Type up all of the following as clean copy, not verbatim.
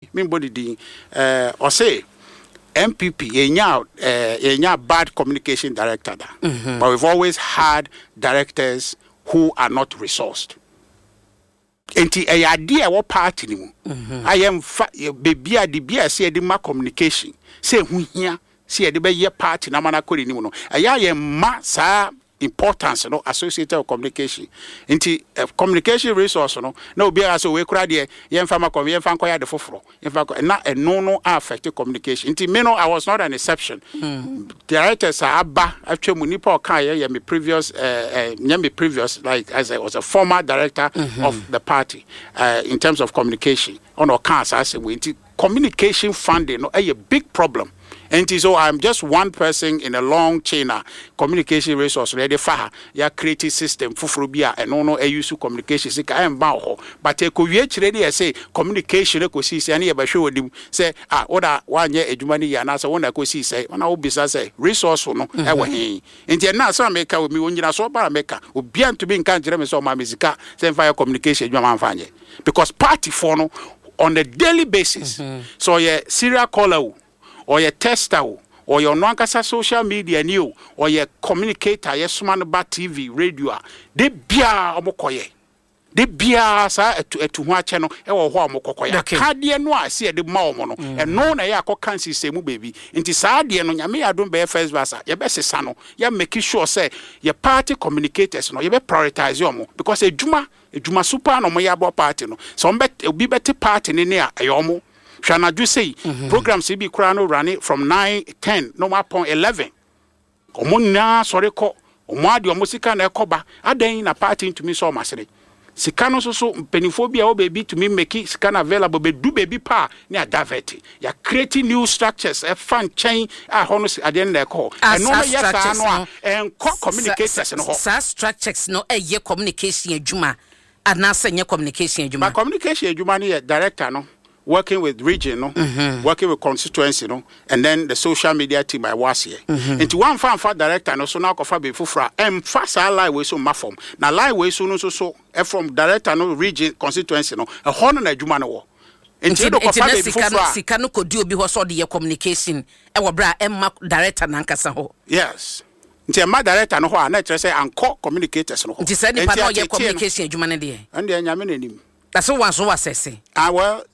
Membɔ ne din, ɔse NPP yɛnnya yɛnnya bad communication director da, but we've always had directors who are not resourced. Enti ɛyɛ adeɛ a ɛwɔ party no mu a yɛmfa baabi a de bi a ɛsɛ yɛde ma communication sɛ ɛho hia sɛ yɛde bɛyɛ party no ama no akɔ n'anim no, ɛyɛ a yɛmma saa importance no associated with communication. Nti communication resource no, na obiara sɛ wei koraa deɛ yɛmfa ma kɔm, yɛmfa nkɔyɛ ade foforɔ, yɛmfa nkɔ, na ɛno no affect communication. Nti me no, I was not an exception. Directors a aba atwa mu, nipa ɔka yɛ yɛ me previous, nyɛ me previous, like as a, was a former director of the party in terms of communication. Ɔna ɔka saa asɛm wei. Nti communication funding no ɛyɛ big problem. Nti so I'm just one person in a long chain a communication resource no yɛde fa ha, yɛ create system foforɔ bi a ɛno no ɛyi so communication sika ɛmba wɔ hɔ, but ɛkɔwie akyire ne yɛse communication ɛkɔsii sɛ ɛne yɛbɛhwɛ wɔ nim sɛ ah, wo na woanyɛ adwuma no yie anaasɛ wo na ɛkɔsii sɛ wɔna wobisa sɛ resource no ɛwɔ he. Nti ɛnna asɛm a meka wɔ mi wɔ nyinasoɔ ba a meka, obiara ntumi nka nkyerɛ me sɛ ɔma me sika sɛ mfa yɛ communication adwuma mamfa anyɛ, because party foɔ no on a daily basis, sɛ ɔyɛ serial caller o, ɔyɛ tester o, ɔyɛ ɔno ankasa social media ni o, ɔyɛ communicator yɛsoma no ba TV, radio a, de biara ɔmo kɔyɛ, de biara saa ɛtu ɛtu ho akyɛ no ɛwɔ hɔ a ɔmo kɔkɔyɛ. Akadeɛ no a ɛsɛ yɛde ma ɔmo no, ɛno na ɛyɛ akɔka nsisɛmu baabi. Nti saa adeɛ no, Nyame yɛ adom bɛyɛ first verse a, yɛbɛsesa no, yɛ make sure sɛ yɛ party communicators no, yɛbɛ prioritize ɔmo, because adwuma adwuma so paa na ɔmo yɛ aboa party no. Sɛ ɔmo bɛ obi bɛte party ne ne a, ɛyɛ ɔmo. Hwɛ anadwo sei, programs bi koraa no run from 9, 10 na ɔmo apɔn 11, ɔmo nyinaa sɔre kɔ, ɔmo ade ɔmo sika na ɛkɔ ba. Adan na party ntumi sɔ ɔmo asene sika no nso so? Mpanimfoɔ bi a ɛwɔ baabi tumi make sika no available bɛdu baabi pa a ne adavert. Yɛ create new structures ɛfa nkyɛn a hɔ no adeɛ no na ɛkɔ hɔ. Ɛno no yɛ saa no a ɛnkɔ communicators no hɔ. Saa structures no ɛyɛ communication adwuma anaasɛ nyɛ communication adwuma? But communication adwuma no yɛ director no working with region no, working with constituency no, and then the social media team a ɛwɔ aseɛ. Nti wɔamfa amfa director no so na akɔfa baabi foforɔ a, ɛmfa saa line wei so mma fam. Na line wei so no nso so, from director no, region, constituency no, ɛhɔ no na adwuma no wɔ. Nti wode kɔfa baabi foforɔ a, sika no kɔdi obi hɔ sɛ ɔde yɛ communication ɛwɔ berɛ a ɛmma director nankasa hɔ. Yes, nti ɛmma director no hɔ a, na ɛkyerɛ sɛ ankɔ communicators no hɔ. Nti saa nipa na ɔyɛ communication adwuma no deɛ, ɛno deɛ Nyame n'anim. Na sɛ wɔn so wɔ asɛse. Ah well,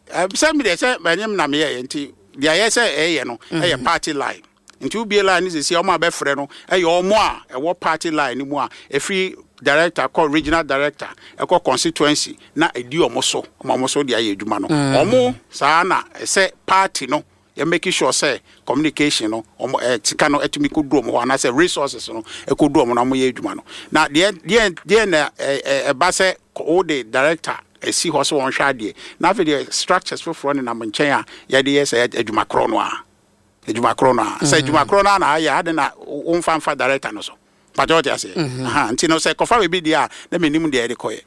sɛ mi deɛ sɛ ɛnyɛ mi na mi yɛ, nti deɛ ayɛ sɛ ɛyɛ no ɛyɛ party line. Nti wobie line no sisi, ɔmo a bɛfrɛ no ɛyɛ ɔmo a ɛwɔ party line no mu a ɛfiri director kɔ regional director ɛkɔ constituency na ɛdi ɔmo so, ɔmo so de ayɛ adwuma no. Ɔmo saa na ɛsɛ party no yɛ make sure sɛ communication no, ɔmo sika no ɛtumi kɔ du ɔmo hɔ anaasɛ resources no ɛkɔ du ɔmo na ɔmo yɛ adwuma no. Na deɛ na ɛ ɛ ɛba sɛ o de director esi hɔ sɛ wɔn hwɛ adeɛ, na afei deɛ structures foforɔ nenam nkyɛn a yɛde yɛ sɛ adwuma korɔ no a, adwuma korɔ no a sɛ adwuma korɔ no a na ayɛ ade na wɔmfa nfa director no so pàtɛ ɔte aseɛ. Nti no sɛ kɔfa baabi deɛ a, na menim deɛ yɛde kɔyɛ.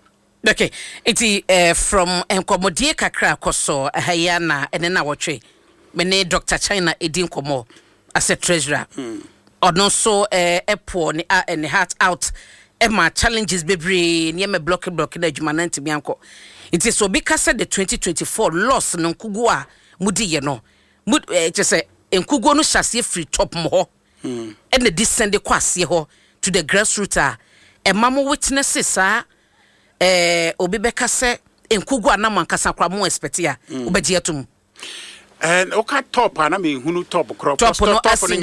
Okay, nti from nkɔmmɔdie kakra kɔ so ɛha yi na ɛne na wɔtwe me ne Dr China ɛdi nkɔmmɔ as a treasurer, ɔno nso ɛpour ne heart out ɛma challenges bebree, nneɛma block block na adwuma no ntumi ankɔ. Nti sɛ obi ka sɛ the 2024 loss no, nkuguo a mudi yɛ no mu, kyɛ sɛ nkuguo no hyɛ aseɛ firi top mu hɔ ɛna descend kɔ aseɛ hɔ to the grassroots a ɛma mo witness saa, obi bɛka sɛ nkugu a na mo ankasa koraa mo expect a, wobɛgye atom? And woka top a, na mehunu top korɔ. Top no as in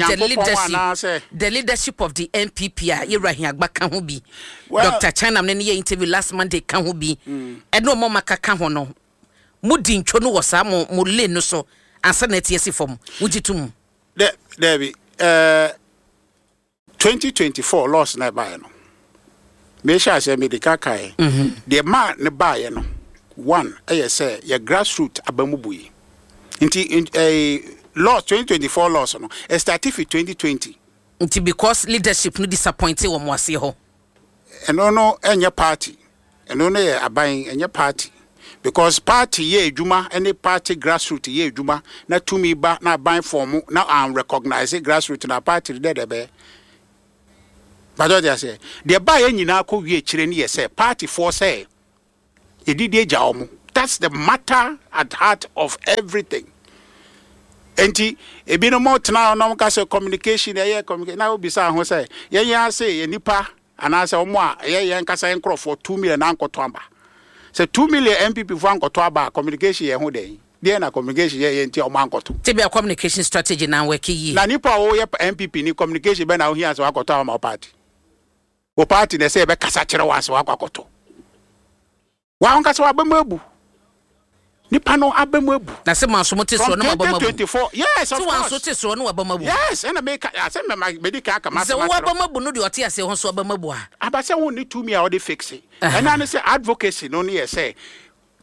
the leadership of the NPP a yɛwura Hiagba ka ho bi, well, Dr China ne yɛ interview last Monday ka ho bi, ɛne ɔmo maka ka ho no, mo di ntwo no wɔ saa mo lane no so ansa na ɛte asi fam, wogye tom? Dɛbi, 2024 loss na ɛbaeɛ no, mehyɛ aseɛ mede ka kaeɛ deɛ maa ne baeɛ no, one ɛyɛ sɛ yɛ grassroot aba mu bui. Nti loss, 2024 loss no, ɛstart fi 2020. Nti because leadership no disappoint wɔ mo aseɛ hɔ? Ɛno no ɛnyɛ party, ɛno no yɛ aban, ɛnyɛ party, because party yɛ adwuma ne party grassroot yɛ adwuma na tumi ba na aban form na an recognize grassroot na party dɛ dɛ bɛyɛ bàtɛ ɔde aseɛ. Deɛ baa yɛ nyinaa kɔ wie akyire no yɛ sɛ party foɔ sɛ yɛdidi agya wɔn. That's the matter at heart of everything. Enti ebinom tena hɔ na wɔka sɛ communication ɛyɛ communication na wobisa ho sɛ yɛn yɛn ase yɛ nipa anaasɛ wɔn a ɛyɛ yɛn kasa yɛn nkorɔfoɔ 2 million ankɔtɔ aba. Sɛ 2 million NPP fo ankɔtɔ aba a, communication yɛ ho dɛn deɛ na communication yɛ yɛ nti a wɔn ankɔtɔ? Tebia communication strategy na work yie. Na nipa a wɔyɛ NPP ni, communication bɛ na ohia sɛ wakɔtɔ ama wo party? Wo party na ɛsɛ yɛbɛkasa kyerɛ wɔn asɛ wakɔ akɔtɔ. Wɔn ankasa wabɛmu abu, nipa no abɛmu abu. Na sɛ mo aso mo te soɔ no, mo abɛmu abu. 2024, yes, of course. Sɛ wɔn aso te soɔ no, wabɛmu abu. Yes, ɛna meka asɛ mɛ mɛdi kan aka ma sɛ asɛm wo akyerɛ. Abɛmu abu no deɛ, ɔte aseɛ ho so abɛmu abu a. Aba sɛ wɔn ni tumi a wɔde fix ɛna ne sɛ advocacy no ne yɛ sɛ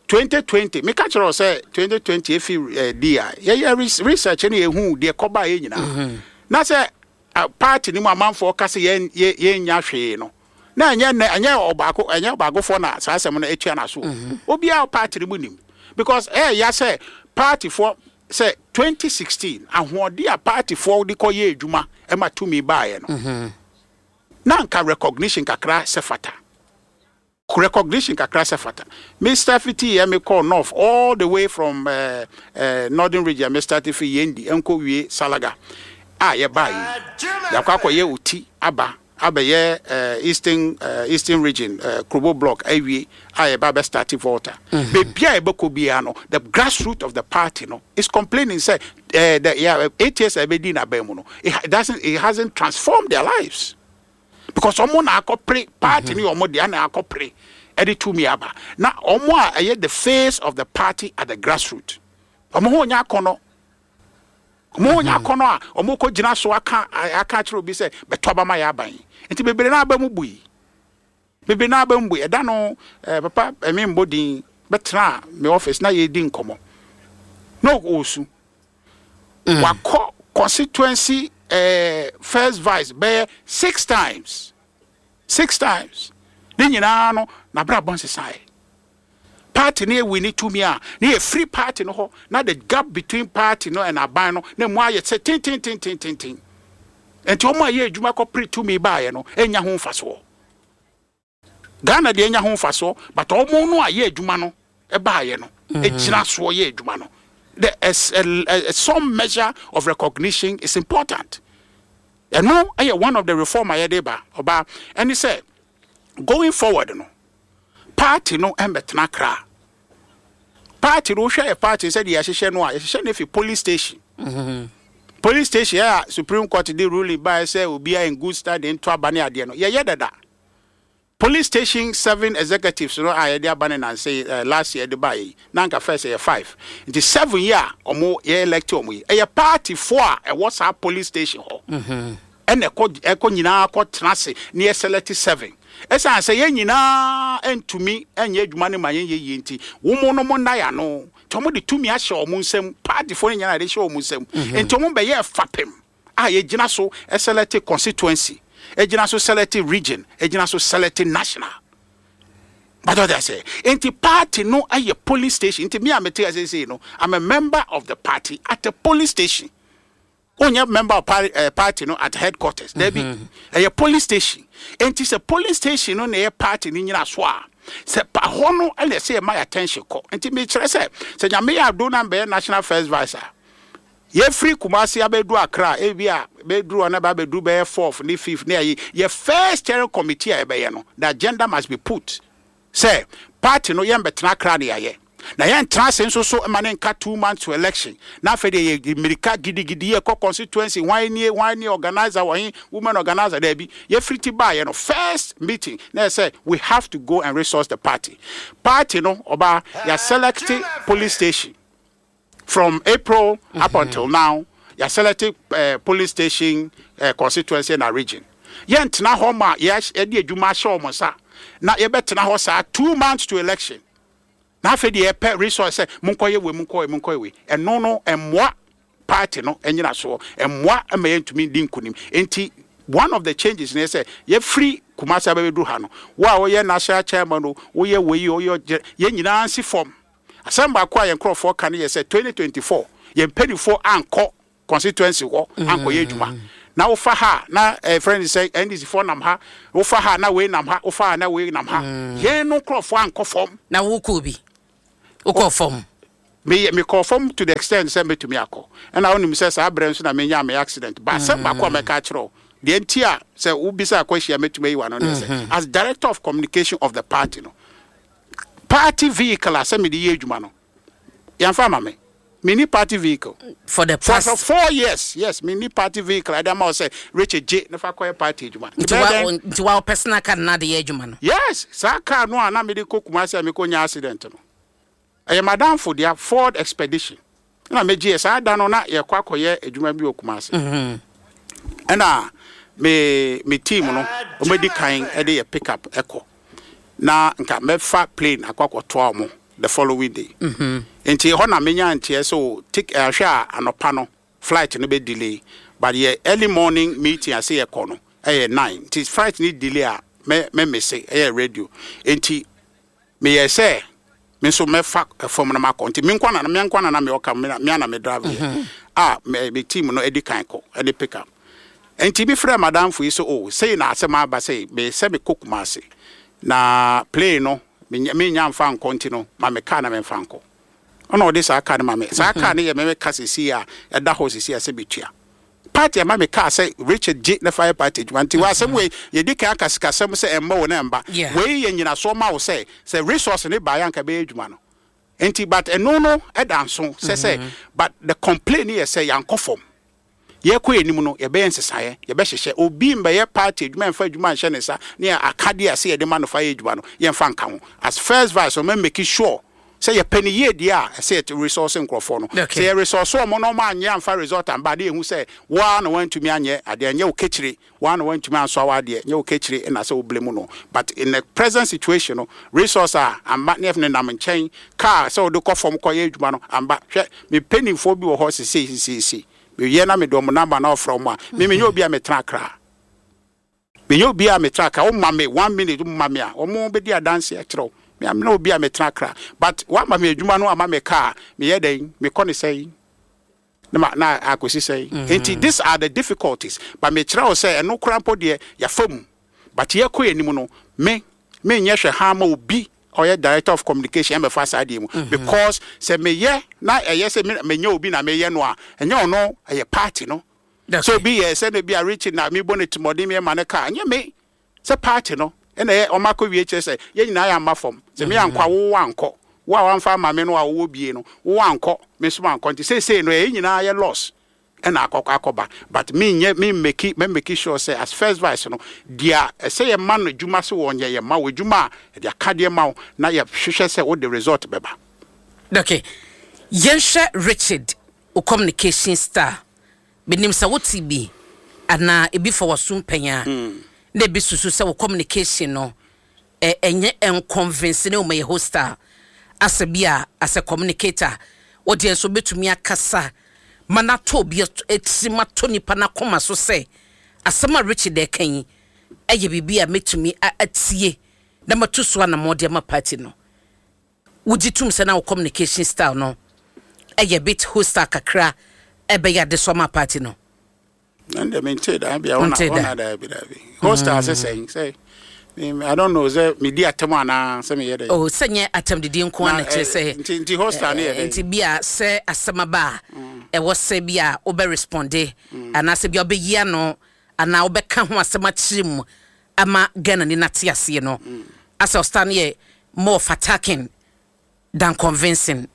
2020, meka kyerɛ wo sɛ 2020 efi di a yɛyɛ research ne yɛhu deɛ kɔba yɛ nyinaa na sɛ party no mu amanfoɔ ka sɛ yɛn yɛnnya hwee no, na ɛnyɛ nnɛ, ɛnyɛ ɔbaako, ɛnyɛ ɔbaakofoɔ na saa asɛm no atua n'aso o. Obiara party no mu nim because ɛyɛ ya sɛ partyfoɔ sɛ 2016 ahoɔden a partyfoɔ de kɔyɛ adwuma ɛma tumi baeɛ no, na nka recognition kakra sɛ fata, recognition kakra sɛ fata. Me start fiti yɛ me kɔ north all the way from northern region, me start fi Yendi nkɔ wie Salaga a yɛbaa yi, yɛakɔ akɔyɛ Oti aba abɛyɛ eastern region, Krobo block awie a yɛba abɛ start Volta. Beebi a yɛbɛkɔ biara no, the grassroot of the party no is complaining sɛ the yeah, 8 years a yɛbɛdi n'aban mu no, it doesn't it hasn't transformed their lives because ɔmo na akɔpere party ne ɔmo deɛ na akɔpere ɛde tumi aba, na ɔmo a ɛyɛ the face of the party at the grassroot, ɔmo ho nya akɔnɔ, ɔmo ho nya akɔnɔ a ɔmo kɔ gyina so aka akyerɛ obi sɛ bɛtɔ aba ma yɛ aban. Nti bebree na aba mu bui, bebree na aba mu bui. Ɛda no papa ɛmi mbɔ din bɛtena me office na yɛdi nkɔmɔ na ɔɔsu. Wakɔ constituency first vice bɛyɛ six times, six times ne nyinaa no, n'abrabɔ nsesaeɛ. Party no ewi ne tumi a ne yɛ free party no hɔ na the gap between party no and aban no na mu ayɛ sɛ tentententententen. Nti wɔn a yɛ adwuma kɔpere tumi baayɛ no enya ho mfasoɔ. Ghana deɛ enya ho mfasoɔ, but wɔn no a yɛ adwuma no ɛbaayɛ no egyina soɔ yɛ adwuma no, the a, some measure of recognition is important. Ɛno ɛyɛ one of the reform a yɛde ba ɔbaa. Ɛne sɛ going forward no, party no ɛmbɛtena kra. Party no, wohwɛ yɛ party sɛdeɛ yɛahyehyɛ no a, yɛhyehyɛ no fi police station. Police station yɛ a Supreme Court de ruling baeɛ sɛ obiara in good standing nto aba ne adeɛ no, yɛyɛ dada. Police station seven executives no a yɛde aba ne nanse last year de baeɛ yi, na anka first ɛyɛ five, nti seven yi a ɔmo yɛ elect ɔmo yi, ɛyɛ party foɔ a ɛwɔ saa police station hɔ ɛna ɛkɔ nyinaa kɔ tena ase ne yɛ select seven. Ɛsan sɛ yɛn nyinaa ntumi nyɛ adwuma no ma yɛn yɛ yie, nti wɔn no mo nna yɛ ano, nti wɔn de tumi ahyɛ wɔn nsam. Party foɔ no nyinaa de hyɛ wɔn nsam, nti wɔn bɛyɛ fapem a yɛgyina so select constituency, egyina so select region, egyina so select national. But what I say, nti party no ayɛ police station. Nti me a mete ase sei no, I'm a member of the party at a police station. Wonyɛ member of party no at headquarters dabi, ɛyɛ police station. Nti sɛ police station no na ɛyɛ party no nyina so a, sɛ pa hɔ no ɛna ɛsɛ yɛma yɛ attention kɔ. Nti mekyerɛ sɛ Nyame yɛ ado na mbɛyɛ national first vice a, yɛfiri Kumasi abɛduru Accra, ebi a bɛduru hɔ na ba abɛduru bɛyɛ fourth ne fifth ne ayi, yɛ first steering committee a yɛbɛyɛ no, the agenda must be put sɛ party no yɛn bɛtena Accra ne yɛayɛ na yɛntena ase nso so ma ne nka 2 months to election na afei deɛ yɛ mmirika gidigidi yɛkɔ constituency, hwan nie, hwan nie, organizer wɔ he, women organizer. Daabi, yɛfiri ti baayɛ no, first meeting na yɛ sɛ we have to go and resource the party. Party no ɔbaa yɛ select police station from April up until now, yɛ select police station, constituency na region. Yɛntena hɔ ma yɛde adwuma ahyɛ wɔn nsa na yɛbɛtena hɔ saa 2 months to election na afei deɛ yɛpɛ resource sɛ monkɔyɛ wei, monkɔyɛ, monkɔyɛ wei. Ɛno no ɛmmoa party no ɛnyina soɔ, ɛmmoa ma yɛntumi di nkonim. Nti one of the changes ne sɛ yɛfiri Kumasi abɛbɛduru ha no, wo a woyɛ national chairman o, woyɛ wei o, woyɛ yɛn nyinaa nsi fam. Asɛm baako a yɛn nkurɔfoɔ ka no yɛ sɛ 2024 yɛn mpanimfoɔ ankɔ constituency hɔ ankɔyɛ adwuma. Na wofa ha na ɛfrɛ no sɛ NDC foɔ nam ha, wofa ha na wei nam ha, wofa ha na wei nam ha, yɛn no nkurɔfoɔ ankɔ fam. Na wokɔ bi. Wokɔ fam. Meyɛ mekɔɔ fam to the extent sɛ mɛtumi akɔ. Ɛna wonim sɛ saa berɛ nso na menyaa me accident. But asɛm baako a mɛka akyerɛ wo, deɛ nti a sɛ wobisa question a mɛtumi ayi w'ano ne sɛ, as director of communication of the party no, party vehicle a sɛ mede yɛ adwuma no, yɛmfa ama me. Menni party vehicle. For the For, past. for 4 years, yes, menni party vehicle a ɛde ama wo sɛ Richard gye na fa kɔyɛ party adwuma. Nti Nti bɛyɛ wa dɛn? nti wa wo personal car na de yɛ adwuma no. Yes, saa car no a na mede kɔ Kumasi a mekɔnya accident no, ɛyɛ madamfo dea, Ford Expedition. Ɛna megyeɛ saa da no na yɛkɔ akɔyɛ adwuma bi wɔ Kumasi. Ɛna me team no, wɔmadi kan de yɛ pick up ɛkɔ. Na nka mɛfa plane akɔ akɔtoa wɔn the following day. Nti hɔ na menya nteɛ sɛ o tik ahwɛ a anɔpa no flight no bɛ delay, but yɛ early morning meeting ase yɛkɔ no ɛyɛ 9, nti flight no delay a mɛ miss ɛyɛ radio. Nti meyɛ sɛ me nso mɛfa fam no makɔ, nti me nkwa na me ɔka me ana me drive yɛ a me team no adi kan kɔ ɛne pick up. Nti bi frɛ madamfo yi sɛ o sei na asɛm aba sɛ me sɛ mekɔ Kumase na plane no menya mfa nkɔ, nti no ma me car na memfa nkɔ. Ɔna ɔde saa car no ma me. Saa car no yɛ me ka sisi a ɛda hɔ sisi a sɛ metua party ama me car sɛ Richard gye ne fa yɛ party adwuma. Nti wɔ asɛm wei yɛdi kan aka sikasɛm sɛ ɛmmɔ wo na ɛmba. Wei yɛ nyinasoɔ ma wo sɛ resource ne baeɛ anka bɛyɛ adwuma no. Nti but ɛno no ɛda nso sɛ but the complaint yɛ sɛ yɛankɔ fam. Yɛkɔ anim no, yɛbɛyɛ nsesaeɛ, yɛbɛhyehyɛ. Obi mbɛyɛ party adwuma, yɛmfa adwuma nhyɛ ne nsa ne akadeɛ a sɛ yɛde ma no fa yɛ adwuma no, yɛmfa nka ho. As first vice, ɔmɛ make sure sɛ yɛpɛ ne yie deɛ a ɛsɛ yɛ resource nkurɔfoɔ no. Sɛ yɛ resource ɔmo na ɔmo anyɛ amfa result amba ade, yɛhu sɛ woa na wantumi anyɛ adeɛ, nyɛ wo kekyire, woa na wantumi ansoa w'adeɛ, nyɛ wo kekyire ɛna sɛ wo blame no. But in the present situation no, resource a amba ne yɛf ne nam nkyɛn, car sɛ wode kɔ fam kɔyɛ adwuma no amba. Hwɛ, me mpanimfoɔ bi wɔ hɔ sesei sesei meyɛ na mede ɔmo number na ɔfrɛ ɔmo a, me menyɛ obi a metena Akra, menyɛ obi a metena Akra. Woma me one minute, woma me a, ɔmo bɛdi adanse akyerɛ wo. Me amena obi a metena Akra, but wama me adwuma no, ama me car, meyɛ dɛn? Mekɔ ne sɛn na ma na akɔsi sɛn? Nti these are the difficulties, but mekyerɛ wo sɛ ɛno koraa mpo deɛ, yɛafa mu, but yɛkɔ anim no, me menyɛ hwɛ ha ma obi ɔyɛ director of communication ɛmɛfa saa deɛ mu, because sɛ meyɛ na ɛyɛ sɛ menyɛ obi na meyɛ no a, ɛnyɛ ɔno, ɛyɛ party no. So obi yɛ sɛ na bi a Richard na mebɔ ne timɔden meyɛ ma ne car, ɛnyɛ me, sɛ party no ɛna ɛyɛ ɔma akɔ wie. Kyerɛ sɛ yɛn nyinaa yɛ amma fam sɛ me ankɔ a, wo ankɔ, wo a wamfa ama me no a wowɔ bie no, wo ankɔ, me nso mankɔ. Nti seesei no ɛyɛ nyinaa yɛ loss ɛna akɔ akɔba, but menyɛ me make me make sure sɛ as first vice no deɛ, ɛsɛ yɛ ma no adwuma sɛ wɔnyɛ, yɛ ma wo adwuma a yɛde akadeɛ ma wo na yɛhwehwɛ sɛ wode result bɛba. Okay, yɛnhwɛ Richard, wo communication style, menim sɛ wote bi anaa ebi fa w'aso mpɛn a na ebi susu sɛ wo communication no ɛnyɛ ɛnconvince ne wɔn yɛ hostile asɛ bi a as a communicator wodeɛ nso wobɛtumi akasa ma no atɔ obi tirim, atɔ nipa no akoma so sɛ asɛm a Richard ɛka yi ɛyɛ biribi a mɛtumi atie na matu so anammɔ de ama party no. Wogye tom sɛ na wo communication style no ɛyɛ bit hostile kakra ɛbɛyɛ ade so ama party no? Ɛnde mente da bia wona. Wonte da? Wona da bi hostile sɛ sɛn sɛ I don't know sɛ medi atɛm anaa sɛ meyɛ dɛ. Oh, sɛ nyɛ atɛmdidi nko a na kyerɛ sɛ nti hostile ne yɛ dɛ? Nti bi a sɛ asɛm aba a ɛwɔ sɛ bi a wobɛ respond anaasɛ bi a wobɛyi ano anaa wobɛka ho asɛm akyerɛ mu ama Ghana ni nate aseɛ no, asɛ ɔstar no yɛ more of attacking than convincing.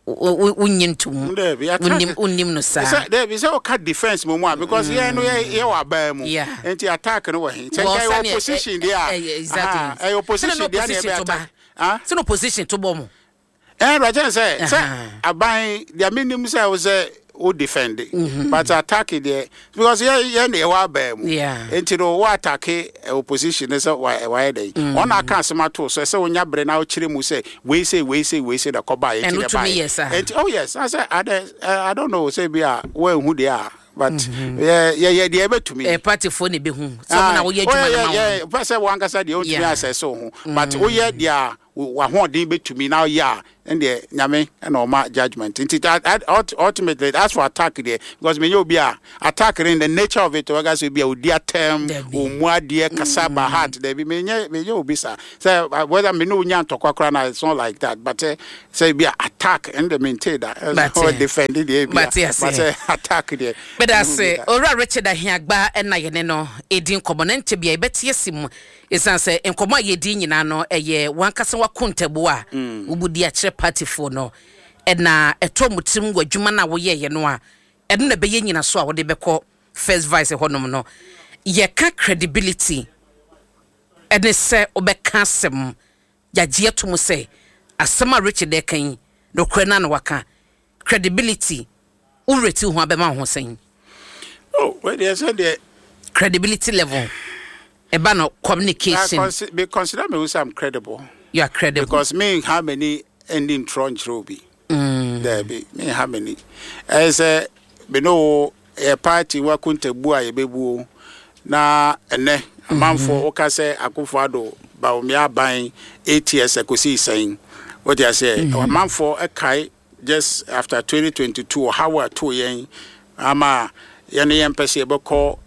Wonye ntom? Dabi. Wonnim, wonnim no saa? Sɛ dabi, sɛ woka defence mu a, because yɛn no yɛ wɔ abaa mu. Nti attack no wɔ he? Sɛ nka ɛyɛ opposition deɛ a, ɛyɛ opposition deɛ na ɛbɛ attack. Sɛ na opposition to bɔ mo. Ɛn rɛkyɛn sɛ aban deɛ, menim sɛ wo sɛ wo defend, but attack deɛ, because yɛ na yɛwɔ abaa mu. Nti no wo attack opposition ne sɛ wayɛ dɛ ɔna aka asɛm ato so, sɛ wonya bere na wokyerɛ mu sɛ wei sɛ wei sɛ wei sɛ na kɔba yɛ nti na ɛbaeɛ. Nti oh yes, I sɛ I don't know sɛ bi a woanhu deɛ a, but yɛ yɛ deɛ ɛbɛtumi. Ɛ partyfoɔ na ebehu sɛ ɔmo na woyɛ adwuma no ma wɔn. Pɛ sɛ wankasa deɛ wontumi asɛse wo ho, but woyɛ deɛ a. W'ahoɔden bɛtumi na woyɛ a, ɛndeɛ Nyame na ɔma judgement. Nti ultimately, as for attack deɛ, because menyɛ obi a attack no in the nature of it, wɔka sɛ obi a ɔdi atɛm, ɔmmu adeɛ, kasa by heart, dabi, menyɛ obi saa. Sɛ whether me ne wo nya ntɔkwa koraa na it's not like that, but sɛ ebi a attack ɛno deɛ mentee da. Mate. Defend deɛ ebi a, Mate but aseɛ. sɛ attack deɛ, Meda mehu bi ase. da. Owura Richard Ahiagbah na yɛne no redi nkɔmmɔ na nkyɛ bia yɛbɛte asi mu esiane sɛ nkɔmmɔ a yɛredi nyinaa no ɛyɛ w'ankasa w'akontabuo a wobu di akyerɛ partyfoɔ no na ɛtɔ mo tirim wɔ adwuma no a woyɛeɛ no a ɛno na ɛbɛyɛ nyinaso a wode bɛkɔ first vice hɔnom no. Yɛka credibility ɛne sɛ wobɛka asɛm yɛagye ato mu sɛ asɛm a Richard reka yi nokorɛ no ara na waka. Credibility, wo werɛ ti wo ho abɛma wo ho sɛn? Oh, wei deɛ sɛ deɛ. Credibility level, ɛba no communication. I me consider me ho sɛ I'm credible. You are credible. Because me nha m'ani nni ntorɔ nkyerɛ obi. Daabi, me nha m'ani. Ɛyɛ sɛ me ne wo yɛ party wakontabu a yɛbɛbuo na ɛnɛ amanfoɔ woka sɛ Akufo Addo Bawumia aban ATS ɛkɔsii sɛn? Wote aseɛ? Amanfoɔ ɛkae just after 2022 ɔhaw a ɛtoo yɛn ama yɛne yɛmpɛ sɛ yɛbɛkɔ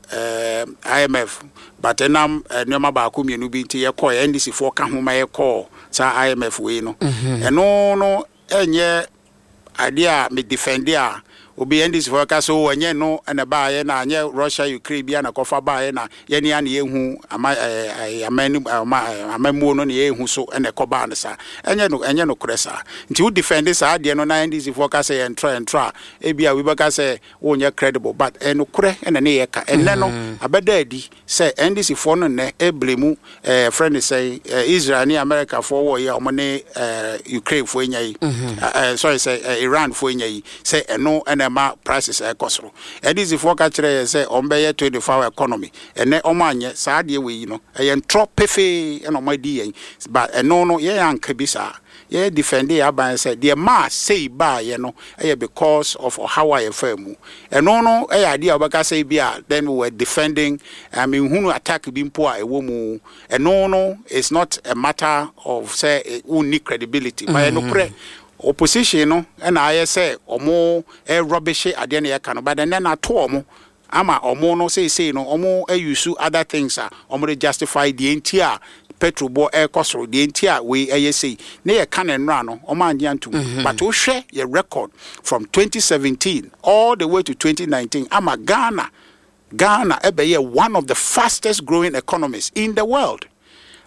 IMF but ɛnam nneɛma baako mmienu bi nti yɛkɔɔ NDC foɔ ka ho ma yɛkɔɔ saa IMF wei no ɛno no ɛnyɛ Adeɛ a me defend a obi NDC foɔ bɛka sɛ oh ɛnyɛ ɛno na ɛbaeɛ na ɛnyɛ Russia Ukraine bia na ɛkɔfa baeɛ na yɛne a na yɛhu ama ɛɛ aman ɔma amammuo no na yɛhu so na ɛkɔbaa no saa. Ɛnyɛ no ɛnyɛ nokorɛ saa. Nti wo defend saa adeɛ no na NDC foɔ ka sɛ yɛntrɔ yɛntrɔ a ebia obi bɛka sɛ wonyɛ credible but ɛyɛ nokorɛ na ne yɛka. Ɛnnɛ no abɛda adi Sɛ NDC foɔ no nnɛ ɛblemu ɛɛ yɛfrɛ no sɛn ɛɛ Israel ne America foɔ wɔ yi a wɔn ne ɛɛ Ukraine foɔ anya yi ɛɛ sorry sɛ ɛɛ Iran foɔ anya yi sɛ ɛno ɛna ɛma prices ɛkɔ soro. NDC foɔ ka kyerɛ yɛn sɛ wɔn bɛyɛ 24 hour economy ɛnɛ wɔn anyɛ saa adeɛ wei yi no ɛyɛ ntorɔ pefee ɛna wɔn adi yɛn but ɛno no yɛn anka bi saa. Yɛ defɛndee yɛn aban sɛ deɛ ɛmaa sei baeɛ no yɛ because of ɔhaw a yɛfaa mu. Ɛno no yɛ adeɛ a wobɛka sɛ ebia then we were defending, menhunu attack bi mpo a ɛwɔ mu. Ɛno no is not a matter of sɛ wonni credibility, but ɛyɛ nokorɛ. Opposition no na ayɛ sɛ wɔn rubbishe adeɛ no yɛka no, but ɛnnɛ no ato wɔn ama ɔmo no seisei no ɔmo use other things a ɔmo de justify deɛ nti a petrol boɔ ɛɛkɔ soro, deɛ nti a wei ɛyɛ sei. Ne yɛ ka no nnora no ɔmo annye antum but wo hwɛ yɛ record from 2017 all the way to 2019 ama Ghana Ghana ɛbɛyɛɛ one of the fastest growing economies in the world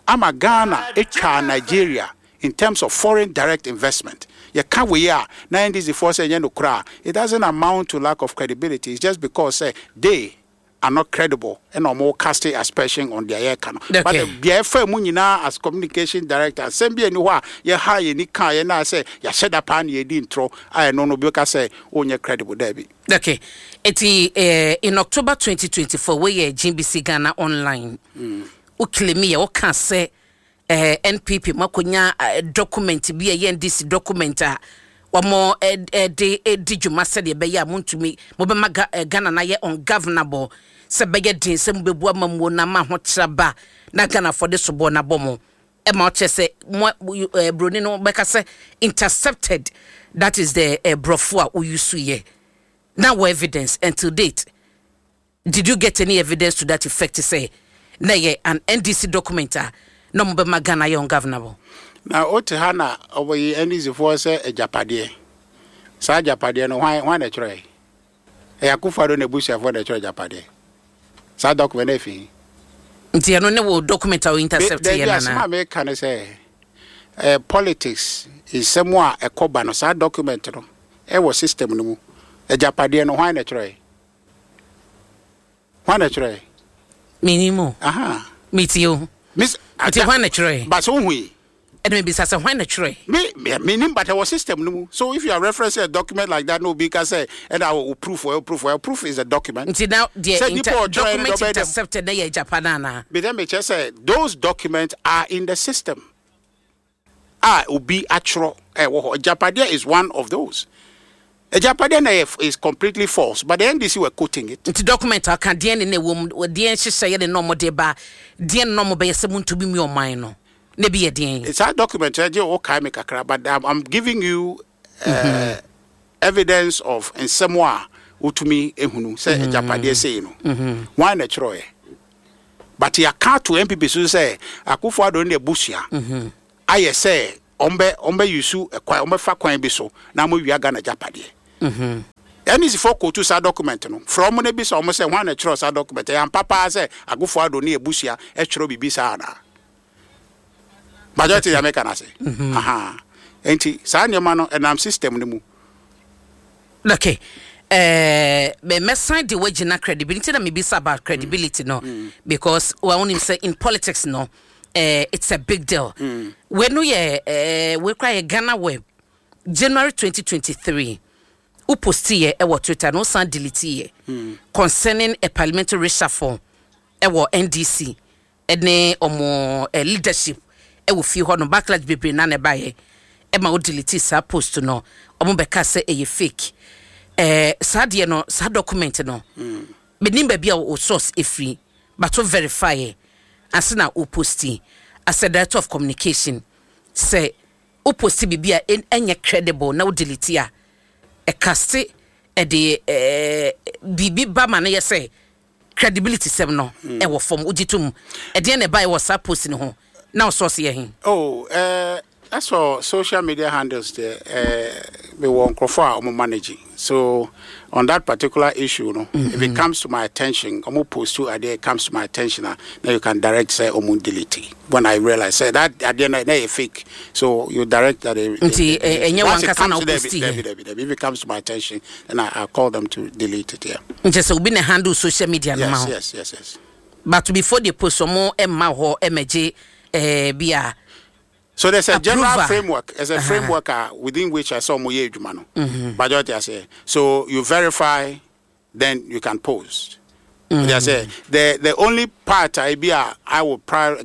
ama Ghana ɛtwaa Nigeria in terms of foreign direct investment. Yɛka wei a na NDC foɔ sɛ ɛnyɛ nokorɛ a, it doesn't amount to lack of credibility, it's just because sɛ they are not credible ɛna wɔn cast aspersion on deɛ yɛreka no. But deɛ ɛfaa mu nyinaa as communication director, asɛm bi nni hɔ a yɛhaa yɛn ani kaeɛ na sɛ yɛahyɛ da paa na yɛredi ntorɔ a ɛno no obi bɛka sɛ wonyɛ credible, daabi. Okay, eti eh, in October 2024, wei yɛ GBC Ghana Online, wo claim yɛ, woka sɛ Eh NPP mo akonya document bi a ɛyɛ NDC document a wɔn de di dwuma sɛdeɛ ɛbɛyɛ a montumi mobɛma Ghana no ayɛ ungovernable sɛ ɛbɛyɛ den sɛ mobɛbu amammuo no ama ahokyerɛ aba na Ghanafoɔ de soboɔ no abɔ mo ɛma ɔkyerɛ sɛ mo broni no bɛka sɛ intercepted, that is the brɔfo a woyusu yɛ na wɔ evidence until date. Did you get any evidence to that effect sɛ na ɛyɛ an NDC document a na ɔmo bɛma Ghana ayɛ ungovernable? Na wote ha na wɔyi NDC foɔ sɛ agyapadeɛ. Saa agyapadeɛ no hwan hwan na ɛtwerɛɛ? Ɛyɛ Akufo Addo n'abusuafoɔ na ɛtwerɛ agyapadeɛ. Saa document no ɛfi he? Nti ɛno ne wo document a wo intercept yɛ no anaa? Dabi, asɛm a meka ne sɛ eh, politics nsɛm a ɛkɔ ba no saa document no ɛwɔ system no mu. Agyapadeɛ no hwan na ɛtwerɛɛ? Hwan na ɛtwerɛɛ? Menim o. Aha. Metie o. Miss, Nti hwan na ɛtwerɛɛ? But sɛ wohu yi. Ɛna mebisa sɛ hwan na ɛtwerɛɛ? Me, me, menim but ɛwɔ system no mu. So if you are referencing a document like that na obi ka sɛ ɛna o proof o proof o proof is a document. Nti na deɛ Sɛ nipa inter, ɔtwerɛɛ no deɛ document ɔbɛyɛ dɛm. intercepted na yɛ agyapa no anaa? Me dɛ mekyerɛ sɛ those documents are in the system a obi atwerɛ ɛwɔ hɔ. Agyapadeɛ is one of those. Agyapadeɛ na ɛyɛ is completely false but the NDC were quoting it. Nti document a ɔka deɛn ne na ɛwɔ mu, deɛn nhyehyɛeɛ ne na wɔde ba, deɛn ne na wɔbɛyɛ sɛ montumi mmue ɔman no? Na bi yɛ deɛn? Saa document no gye wo kae me kakra, but I'm giving you evidence of nsɛm a wotumi ehunu sɛ agyapadeɛ sei no, hwan na ɛtwerɛeɛ? But yɛaka ato NPP so sɛ Akufo Addo ne abusua ayɛ sɛ ɔmbɛ use kwan, ɔmbɛfa kwan bi so na wɔawia Ghana agyapadeɛ. NDC foɔ kootu saa document no, frɛ wɔn na bisa wɔn sɛ hwan na ɛtwerɛ saa document? Ɛyɛ ampa paa sɛ Akufo Addo ne abusua twerɛ biribi saa anaa? Majority deɛ meka no ase. Aha. Nti saa nneɛma no ɛnam system no mu. Okay. Eh, me mɛsan de wagyina credibility na mebisa about credibility no because wa wonim sɛ in politics no, it's a big deal. Wei no yɛ wei koraa yɛ Ghana Web January 2023 wo posti yɛ ɛwɔ Twitter na wosan delete yɛ concerning a parliamentary reshuffle ɛwɔ NDC ne ɔmo leadership wɔ fie hɔ nom. Backlash bebree na na ɛbaeɛ ɛma wo delete saa post no. Ɔmo bɛka sɛ ɛyɛ fake. Saa deɛ no, saa document no, menim baabi a wo source ɛfiri, but wo verify ɛ ansa na wo posti. As a director of communication, sɛ wo posti biribi a ɛnyɛ credible na wo delete a, ɛkaste ɛde biribi ba ma no yɛ sɛ credibility sɛm no ɛwɔ fam. Wogye tom? Ɛdeɛn na ɛbaeɛ wɔ saa post no ho na wo source yɛ he? Oh, as for social media handles deɛ, mewɔ nkurɔfoɔ a wɔn manage. So on that particular issue no, if it comes to my attention, wɔn post to adeɛ, it comes to my attention a, then you can direct sɛ wɔn delete. When I realize sɛ that adeɛ no na ɛyɛ fake, so you direct that they Nti they delete. Ɛnyɛ Once it wankasa na comes to wo post Debbie, yɛ? Debbie, Debbie, if it comes to my attention, then I call them to delete it. Yeah. Nkyɛ sɛ obi na handle social media no ma Yes, wo? yes. But before they post, ɔmo ɛmma hɔ ɛmɛgye bi a So there's a general approval. Framework. There's a framework within which I saw mo yɛ adwuma no. Majority I say. So you verify, then you can post. They say the only part I be a I will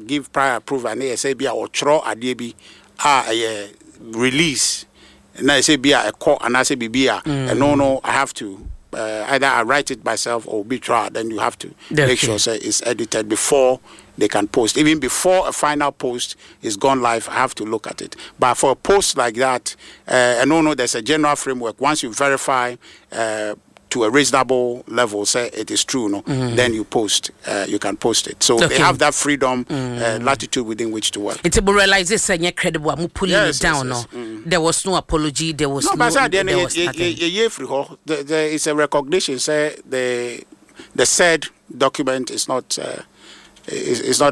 give prior approval na sɛ bi a ɔtwerɛ adeɛ bi a ɛyɛ release na sɛ bi a ɛkɔ anaasɛ biribi a ɛno no, I have to either I write it myself or be try, then you have to make sure sɛ it's edited before they can post. Even before a final post is gone live, I have to look at it. But for a post like that, and no, there's a general framework. Once you verify to a reasonable level, sɛ it is true, no, then you post. You can post it. So they have that freedom, latitude within which to work. Nti mo realize sɛ nyɛ credible a, mo pulling it down no? There was no apology, there was No, no, but sɛ adeɛ no there was nothing. Yɛyɛ firi hɔ. There is a recognition sɛ the said document is not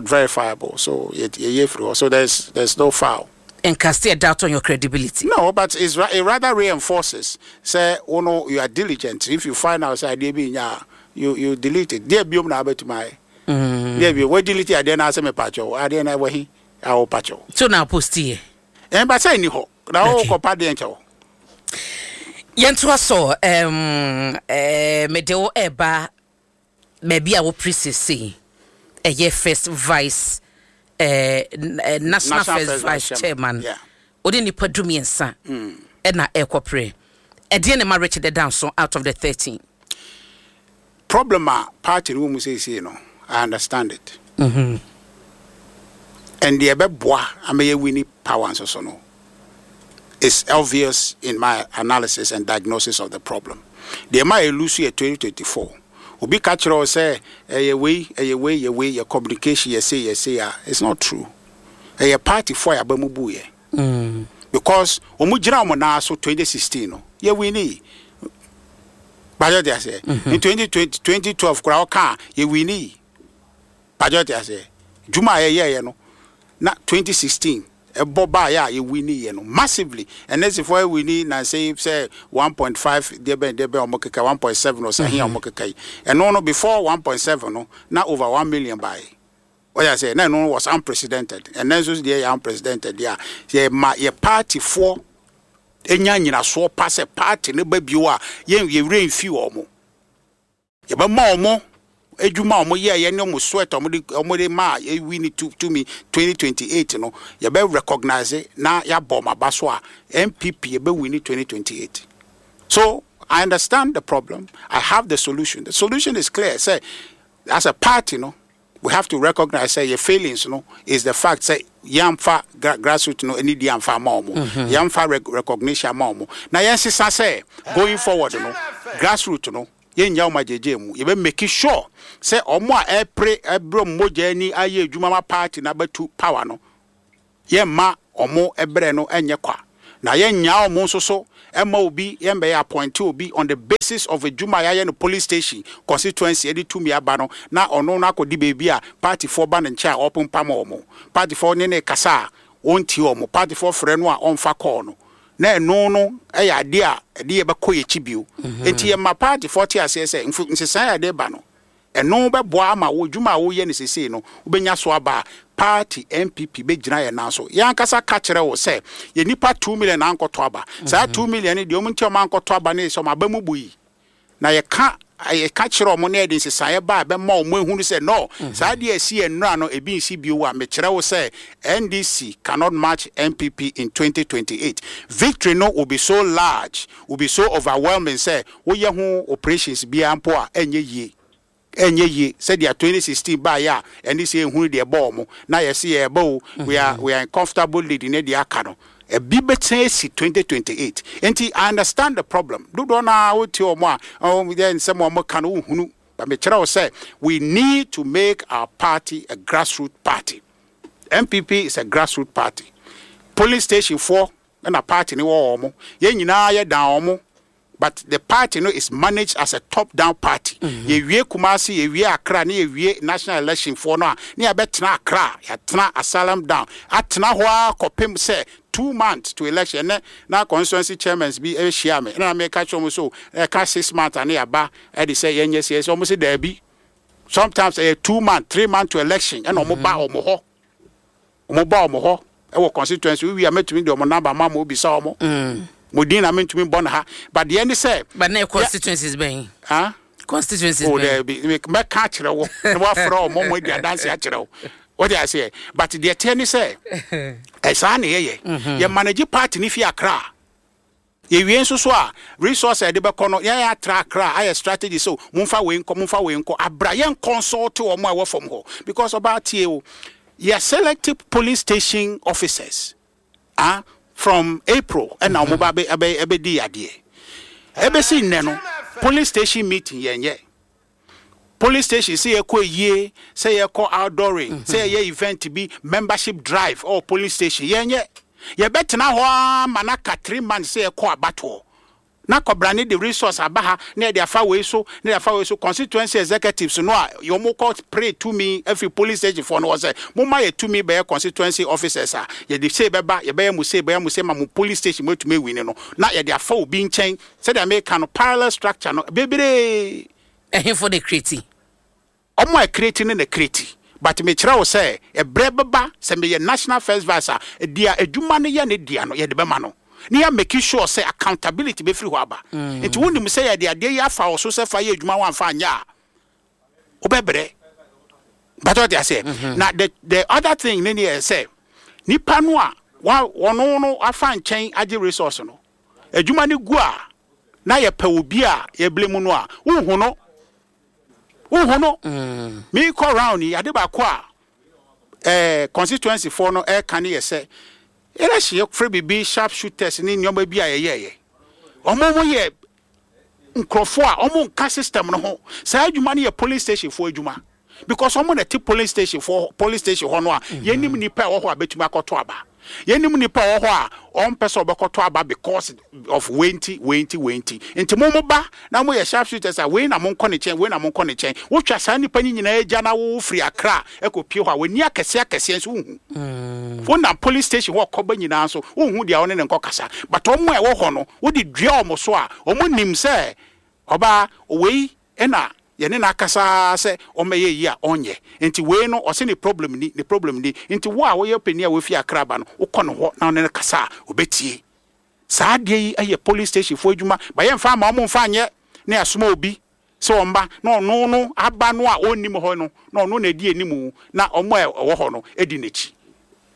verifiable. So yɛyɛ firi hɔ. So there's no foul. And cast a doubt on your credibility. No, but it rather reinforces sɛ oh no, you are diligent. If you find out sɛ adeɛ bi nya, you delete it. Deɛ biom na abɛtuma ayɛ. Deɛ bi wo delete adeɛ na asɛ me pakyɛw. Adeɛ na ɛwɔ he a wo pakyɛw. So na post yɛ? Ɛn ba sɛ ni hɔ. Na wo kɔpa deɛ nkyɛw. Yɛntoa so. Mede wo ɛba baabi a wopere sesei, ɛyɛ first vice national, first vice chairman. Wode nipa 13 ɛna ɛkɔpere. Ɛdeɛ ne ma Richard Danso out of the 13? Problem a party no wɔ mu seesei no, I understand it. And deɛ ɛbɛboa ama yɛ win power nso so no is obvious in my analysis and diagnosis of the problem. Deɛ ma yɛ lose yɛ 2024, obi ka kyerɛ wo sɛ ɛyɛ wei, ɛyɛ wei, yɛ wei, yɛ communication, yɛ sei, yɛ sei a, it's not true. Ɛyɛ party fo a yɛaba mu bu yɛ. Because wɔn gyina wɔn nan so 2016 no, yɛ win yi. Bàjẹ́ ti ase. In 2020, 2012 koraa ɔka a, yɛ win yi. Bàjẹ́ ti ase. Dwuma a yɛyɛɛyɛ no na 2016 ɛbɔ baayɛ a yɛ win yɛ no massively. NDC fo win na sɛ 1.5 deɛ bɛn deɛ bɛn ɔmo keka 1.7 ɔsɛ ahen a ɔmo keka yi. Ɛno no, before 1.7 no na over 1 million baayɛ. Wɔyɛ sɛ na ɛno was unprecedented. Ɛnɛ nso deɛ yɛ unprecedented deɛ a yɛ ma yɛ party foɔ enya nyinasoɔ pa sɛ party ne ba bio a, yɛn yɛwura nfi wɔn mo, yɛbɛma wɔn edwuma a wɔn yɛ yɛ ne wɔn sweat a wɔn de maa ewi ne tu tumi 2028 no, yɛbɛ recognize na yɛabɔ wɔn aba so a NPP yɛbɛ win 2028. So I understand the problem. I have the solution. The solution is clear sɛ as a party no. We have to recognize sɛ yɛ failings no is the fact sɛ yɛamfa grassroot no anidie amfa ama wɔn, yɛamfa recognition ama wɔn. Na yɛnsesa sɛ going forward no, grassroot no yɛnnya wɔn agyegye mu. Yɛbɛ make sure sɛ wɔn a ɛrepere ɛbrɛ wɔn mogya ani ayɛ adwuma ma party no abɛtu power no, Yɛmma wɔn brɛ no nyɛ kwa, na yɛnnyaa wɔn nso so mma obi, yɛmbɛyɛ appointe obi on the basis of adwuma a yɛayɛ no polling station, constituency de tumi aba no, na ɔno no akɔdi baabi a partyfoɔ ba ne nkyɛn a ɔrepempam wɔn, partyfoɔ ne no rekasa a ɔntie wɔn, partyfoɔ frɛ no a ɔmfa call no, na ɛno no yɛ adeɛ a ɛde yɛn bɛkɔ yɛn akyi bio. Enti yɛma partyfoɔ te aseɛ sɛ nsesaeɛ a yɛde reba no, Ɛno bɛboa ama wo dwuma a woreyɛ no seesei no, wobɛnya so aba a, party NPP bɛgyina yɛn nan so. Yɛn ankasa ka kyerɛ wo sɛ, yɛn nnipa 2 million na ankɔtɔ aba. Saa 2 million no, deɛ wɔn nti a wɔankɔtɔ aba no yɛ sɛ wɔn aba mu bui. Na yɛka yɛka kyerɛ wɔn na yɛde nsesaeɛ ba a ɛbɛma wɔn ahunu sɛ no, saa adeɛ a ɛsi yɛn nnora no, ebi nsi bio a, mekyerɛ wo sɛ NDC cannot match NPP in 2028. Victory no will be so large, will be so overwhelming sɛ woyɛ ho operations biara mpo a ɛnyɛ yie. Ɛnyɛ yie sɛdeɛ 2016 baeɛ a ɛne sɛ yɛhunu deɛ ɛbɔɔ mo na yɛse yɛreba o, we are in comfortable lead ne deɛ aka no. Ɛbi bɛtena asi 2028. Nti I understand the problem. Dodoɔ no ara wotie wɔn a wɔn yɛ nsɛm a wɔka no wohunu. But mekyerɛ wo sɛ we need to make our party a grassroots party. NPP is a grassroots party. Polling station foɔ ɛna party no wɔ wɔn. Yɛn nyinaa yɛdan wɔn, but the party no is managed as a top down party. Yɛwie Kumasi, yɛwie Accra ne yɛwie national election foɔ no a, ne yɛbɛtena Accra, yɛatena asylum down atena hɔ ara kɔpem sɛ 2 months to election. Ɛnɛ na constituency chairmen bi ahyia me ɛna meka kyerɛ wɔn so ɛka 6 months a ne yɛaba ɛde sɛ yɛnyɛ sɛ wɔn sɛ daabi, sometimes ɛyɛ 2 months, 3 months to election ɛna wɔn ba wɔn hɔ, wɔn ba wɔn hɔ ɛwɔ constituency. Wowie a, mɛtumi de wɔn number ma mo bisa wɔn mo din na mentumi bɔ no ha, but deɛ ne sɛ But na constituencies bɛn? Ah? Constituencies Oh, bɛn? daabi, mɛka akyerɛ wo na woafrɛ ɔmo mo adi adanse akyerɛ wo, wode aseɛ. But deɛ teɛ ne sɛ ɛsaa ne yɛyɛ yɛ manage party ne fi Accra. Yɛwie nso so a, resource a yɛde bɛkɔ no, yɛn atra Accra ayɛ strategy so momfa wei nkɔ, momfa wei nkɔ abra. Yɛn consult wɔn a ɛwɔ fam hɔ because ɔbaa tie o, yɛ select polling station officers, ah, from April ɛna wɔn ba bɛ ɛbɛ ɛbɛdi adeɛ ɛbɛsi nnɛ no, polling station meeting yɛn yɛ polling station sɛ yɛkɔ yie, sɛ yɛkɔ outdooring, sɛ yɛyɛ event bi, membership drive ɔwɔ polling station, yɛnyɛ. Yɛbɛtena hɔ ara ma no aka 3 months sɛ yɛkɔ abatoɔ na kɔbrane de resource aba ha na yɛde afa wei so na yɛde afa wei so. Constituency executives no a wɔn kɔ pray tumi afiri polling station foɔ no wɔ sɛ momma yɛ tumi bɛyɛ constituency officers a yɛde sei bɛba, yɛbɛyɛ mo sei, bɛyɛ mo sei ma mo polling station mo atumi awin no, na yɛde afa obi nkyɛn. Sɛdeɛ meka no, parallel structure no bebree. Ɛhefo de create? Ɔmo a create no na create, but mekyerɛ wo sɛ ɛbrɛ bɛba sɛ meyɛ national first vice a, deɛ adwuma no yɛ ne dea no, yɛde bɛma no ne yɛ make sure sɛ accountability bɛfiri hɔ aba. Nti wonim sɛ yɛde adeɛ yi afa wo so sɛ fa yɛ adwuma, woamfa anyɛ a, wobɛbrɛ. But ɔte aseɛ na the other thing ne yɛ sɛ nipa no a wa wɔno no afa nkyɛn agye resource no, adwuma no gu a, na yɛpɛ obi a yɛblame mu no a, wohu no, wohu no. Meekɔ round yi, ade baako a constituency foɔ no ɛɛka ne yɛ sɛ election yɛfrɛ biribi sharp shooters ne nneɛma bi a yɛyɛɛyɛ, ɔmo mo yɛ nkurɔfoɔ a ɔmo nka system no ho. Saa adwuma no yɛ polling station foɔ adwuma because ɔmo na ɛte polling station foɔ, polling station hɔ no a yɛnim nipa a ɛwɔ hɔ a bɛtumi akɔtɔ aba, yɛnim nipa a ɛwɔ hɔ a ɔmpɛ sɛ ɔbɛkɔtɔ aba because of wei nti, wei nti, wei nti. Nti mo ba na mo yɛ sharp shooters a, wei na mo nkɔ ne nkyɛn, wei na mo nkɔ ne nkyɛn. Wotwa saa nipa no nyinaa agya na wo firi Accra ɛkɔ pie hɔ a, w'ani akɛseɛ akɛseɛ nso wohu. Wonam police station hɔ kɔba nyinaa nso wohu deɛ ɔne ne nkɔ kasa, but ɔmo a ɛwɔ hɔ no, wode dua ɔmo so a, ɔmo nim sɛ ɔbaa wei ɛna yɛne no akasa sɛ ɔmmɛyɛ yi a ɔnyɛ. Nti wei no ɔsɛ ne problem ni, ne problem ni. Nti wo a woyɛ panin a wofi Accra ba no, wokɔ ne hɔ na ɔne no kasa a, obɛtie. Saa adeɛ yi yɛ polling station foɔ adwuma ba, yɛmfa ama ɔmo mfa nyɛ ne asoma obi sɛ ɔmba na ɔno no aba no a ɔnnim hɔ no na ɔno na ɛdi anim na ɔmo a ɛwɔ hɔ no ɛdi n'akyi.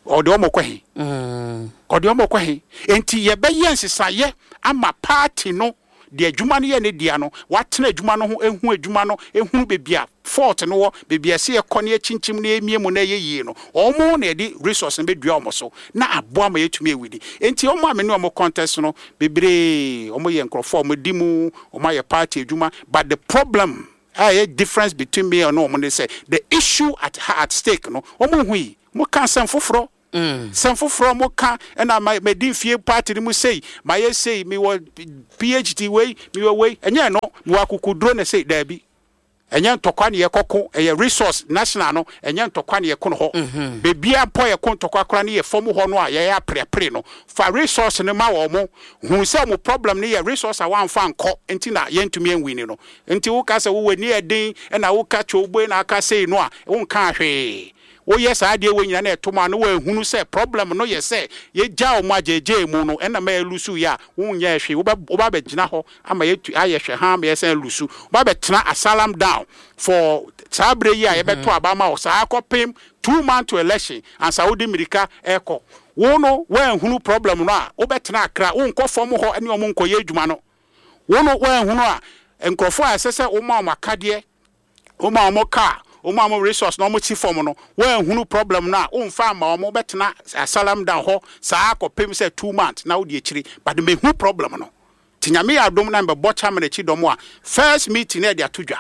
Ɔde ɔmo kɔ he? Ɔde ɔmo kɔ he? Nti yɛbɛyɛ nsesaeɛ ama party no. Deɛ adwuma no yɛ ne dea no, watena adwuma no ho, ehu adwuma no, ehunu baabi a fault no wɔ, baabi a ɛsɛ yɛkɔ na yɛkyinkyim na yɛmie mu na ɛyɛ yie no, wɔn na yɛde resource no bɛdua wɔn so na aboa ma yɛatumi awini. Enti wɔn a me ne wɔn contest no, bebree wɔn yɛ nkurɔfoɔ a wɔdi mu, wɔn ayɛ party adwuma, but the problem a ɛyɛ difference between me ne wɔn ne sɛ, the issue at at stake no, wɔn nhui, wɔka asɛm foforɔ. Sɛm foforɔ a wɔka ɛna ma madi mfie party no mu sei, mayɛ sei, mewɔ PhD wei, mewɔ wei, ɛnyɛ ɛno, mewɔ akokoduro na sei, daabi. Ɛnyɛ ntɔkwa ne yɛkɔko, ɛyɛ resource national no, ɛnyɛ ntɔkwa ne yɛko no hɔ. Baabi a mpo a yɛko ntɔkwa koraa no yɛ fam hɔ no a yɛyɛ apreapre no, fa resource no ma wɔn, hu sɛ wɔn problem no yɛ resource a wɔamfa ankɔ nti na yɛntumi anwini no. Nti woka sɛ wo w'ani yɛ den ɛna woka kyowboe na aka sei no a, wonkaa hwee. Woyɛ saa adeɛ wei nyinaa na ɛto mu a na woahunu sɛ problem no yɛ sɛ yɛgyaa wɔn agyeegyee mu no ɛna ma yɛlusu yɛ a, wonyɛɛ hwee. Wobɛ woba abɛgyina hɔ ama yɛatu ayɛ hwɛ haa ma yɛsan alusu. Woba abɛtena asylum down for saa berɛ yi a yɛbɛto aba ama wo saa kɔpem 2 months to election ansa wode mmirika ɛrekɔ. Wo no woanhunu problem no a, wobɛtena Accra, wonkɔ fam hɔ ne wɔn nkɔyɛ adwuma no. Wo no woanhunu a, nkurɔfoɔ a ɛsɛ sɛ woma wɔn akadeɛ, woma wɔn car, woma wɔn resource na wɔn si fam no, woanhunu problem no a, womfa amma wɔn, wobɛtena asylum down hɔ saa kɔpem sɛ 2 months na wode akyiri. But mehu problem no. Nti Nyame yɛ adom na mbɛbɔ chairman akyi dɔm a, first meeting na yɛde ato dwa.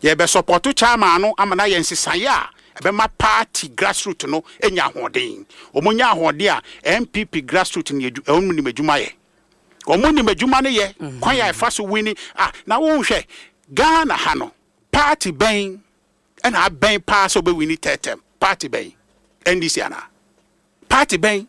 Yɛbɛ support chairman no ama no ayɛ nsesaeɛ a ɛbɛma party grassroot no anya ahoɔden. Wɔn nya ahoɔden a, NPP grassroot no wɔn nim adwuma yɛ. Wɔn nim adwuma no yɛ, kwan a ɛfa so wini. Ah, na wonhwɛ, Ghana ha no, party bɛn ɛna abɛn paa sɛ ɔbɛwini third term? Party bɛn? NDC anaa? Party bɛn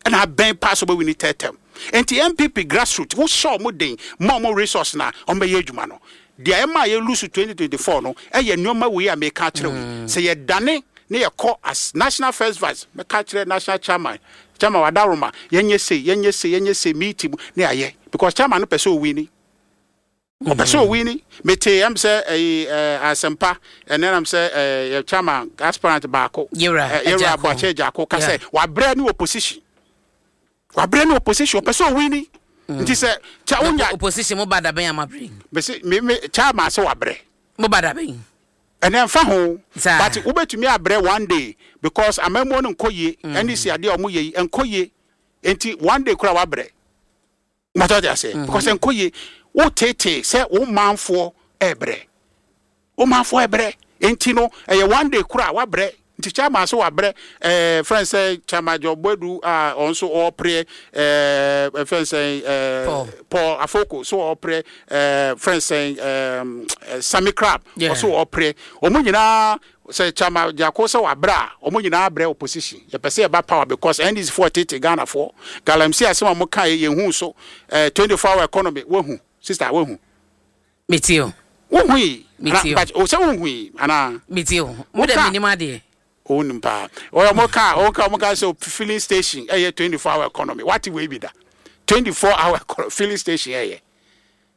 ɛna abɛn paa sɛ ɔbɛwini third term? Nti NPP grassroot, wohyɛ ɔmo den, ma ɔmo resource na ɔmo bɛyɛ adwuma no. Deɛ ɛma yɛ lose 2024 no, ɛyɛ nneɛma wei a meka akyerɛ wo yi. Sɛ yɛdane ne yɛkɔ as national first vice, mɛka akyerɛ national chairman, chairman Wadaroma, yɛnyɛ sei, yɛnyɛ sei, yɛnyɛ sei, meeting mu ne ayɛ. Because chairman no pɛ sɛ owini. Ɔpɛ sɛ owini. Mete ɛm sɛ ɛyi Asɛmpa, ɛnɛ nam sɛ yɛ chairman aspirant baako. Yewura Yewura Aboakye Agyarko ka sɛ wabrɛ ne opposition. Wabrɛ ne opposition, ɔpɛ sɛ owini. Nti sɛ kyɛ wonya. Opposition mo ba dabɛn amabrɛ. Mese me chairman sɛ wabrɛ. Mo ba dabɛn. Ɛnɛ nfa ho. But wobɛtumi abrɛ one day because amammuo no nkɔ yie. Ɛne si adeɛ a wɔn yɛ yi nkɔ yie. Nti one day koraa wabrɛ. Mata ɔde aseɛ because nkɔ yie. Wo tete sɛ wo manfoɔ ɛɛbrɛ. Wo manfoɔ ɛbrɛ. Nti no ɛyɛ one day koraa wabrɛ. Nti chairman so wabrɛ, friend sɛ Chairman John Boadu a ɔno nso ɔɔpreɛ, friend sɛ Paul Afoko so ɔɔpreɛ, friend sɛ Sammy Crab ɔso ɔɔpreɛ. Wɔn nyinaa sɛ Chairman Gyako sɛ wabrɛ a, wɔn nyinaa brɛ opposition. Yɛpɛ sɛ yɛba power because NDC foɔ tete Ghana foɔ. Galamsey asɛm a wɔn ka yɛ yɛn hu so, 24 hour economy wahu, sister, wahu? Metie o. Wohu yi? Metie o. But o sɛ wohu yi anaa? Metie o. Mo dɛ menim adeɛ. Wonim paa. Ɔyɛ ɔmo ka ɔmo ka ɔmo ka sɛ filling station ɛyɛ 24 hour economy. Wate wei bi da? 24 hour filling station ɛyɛ.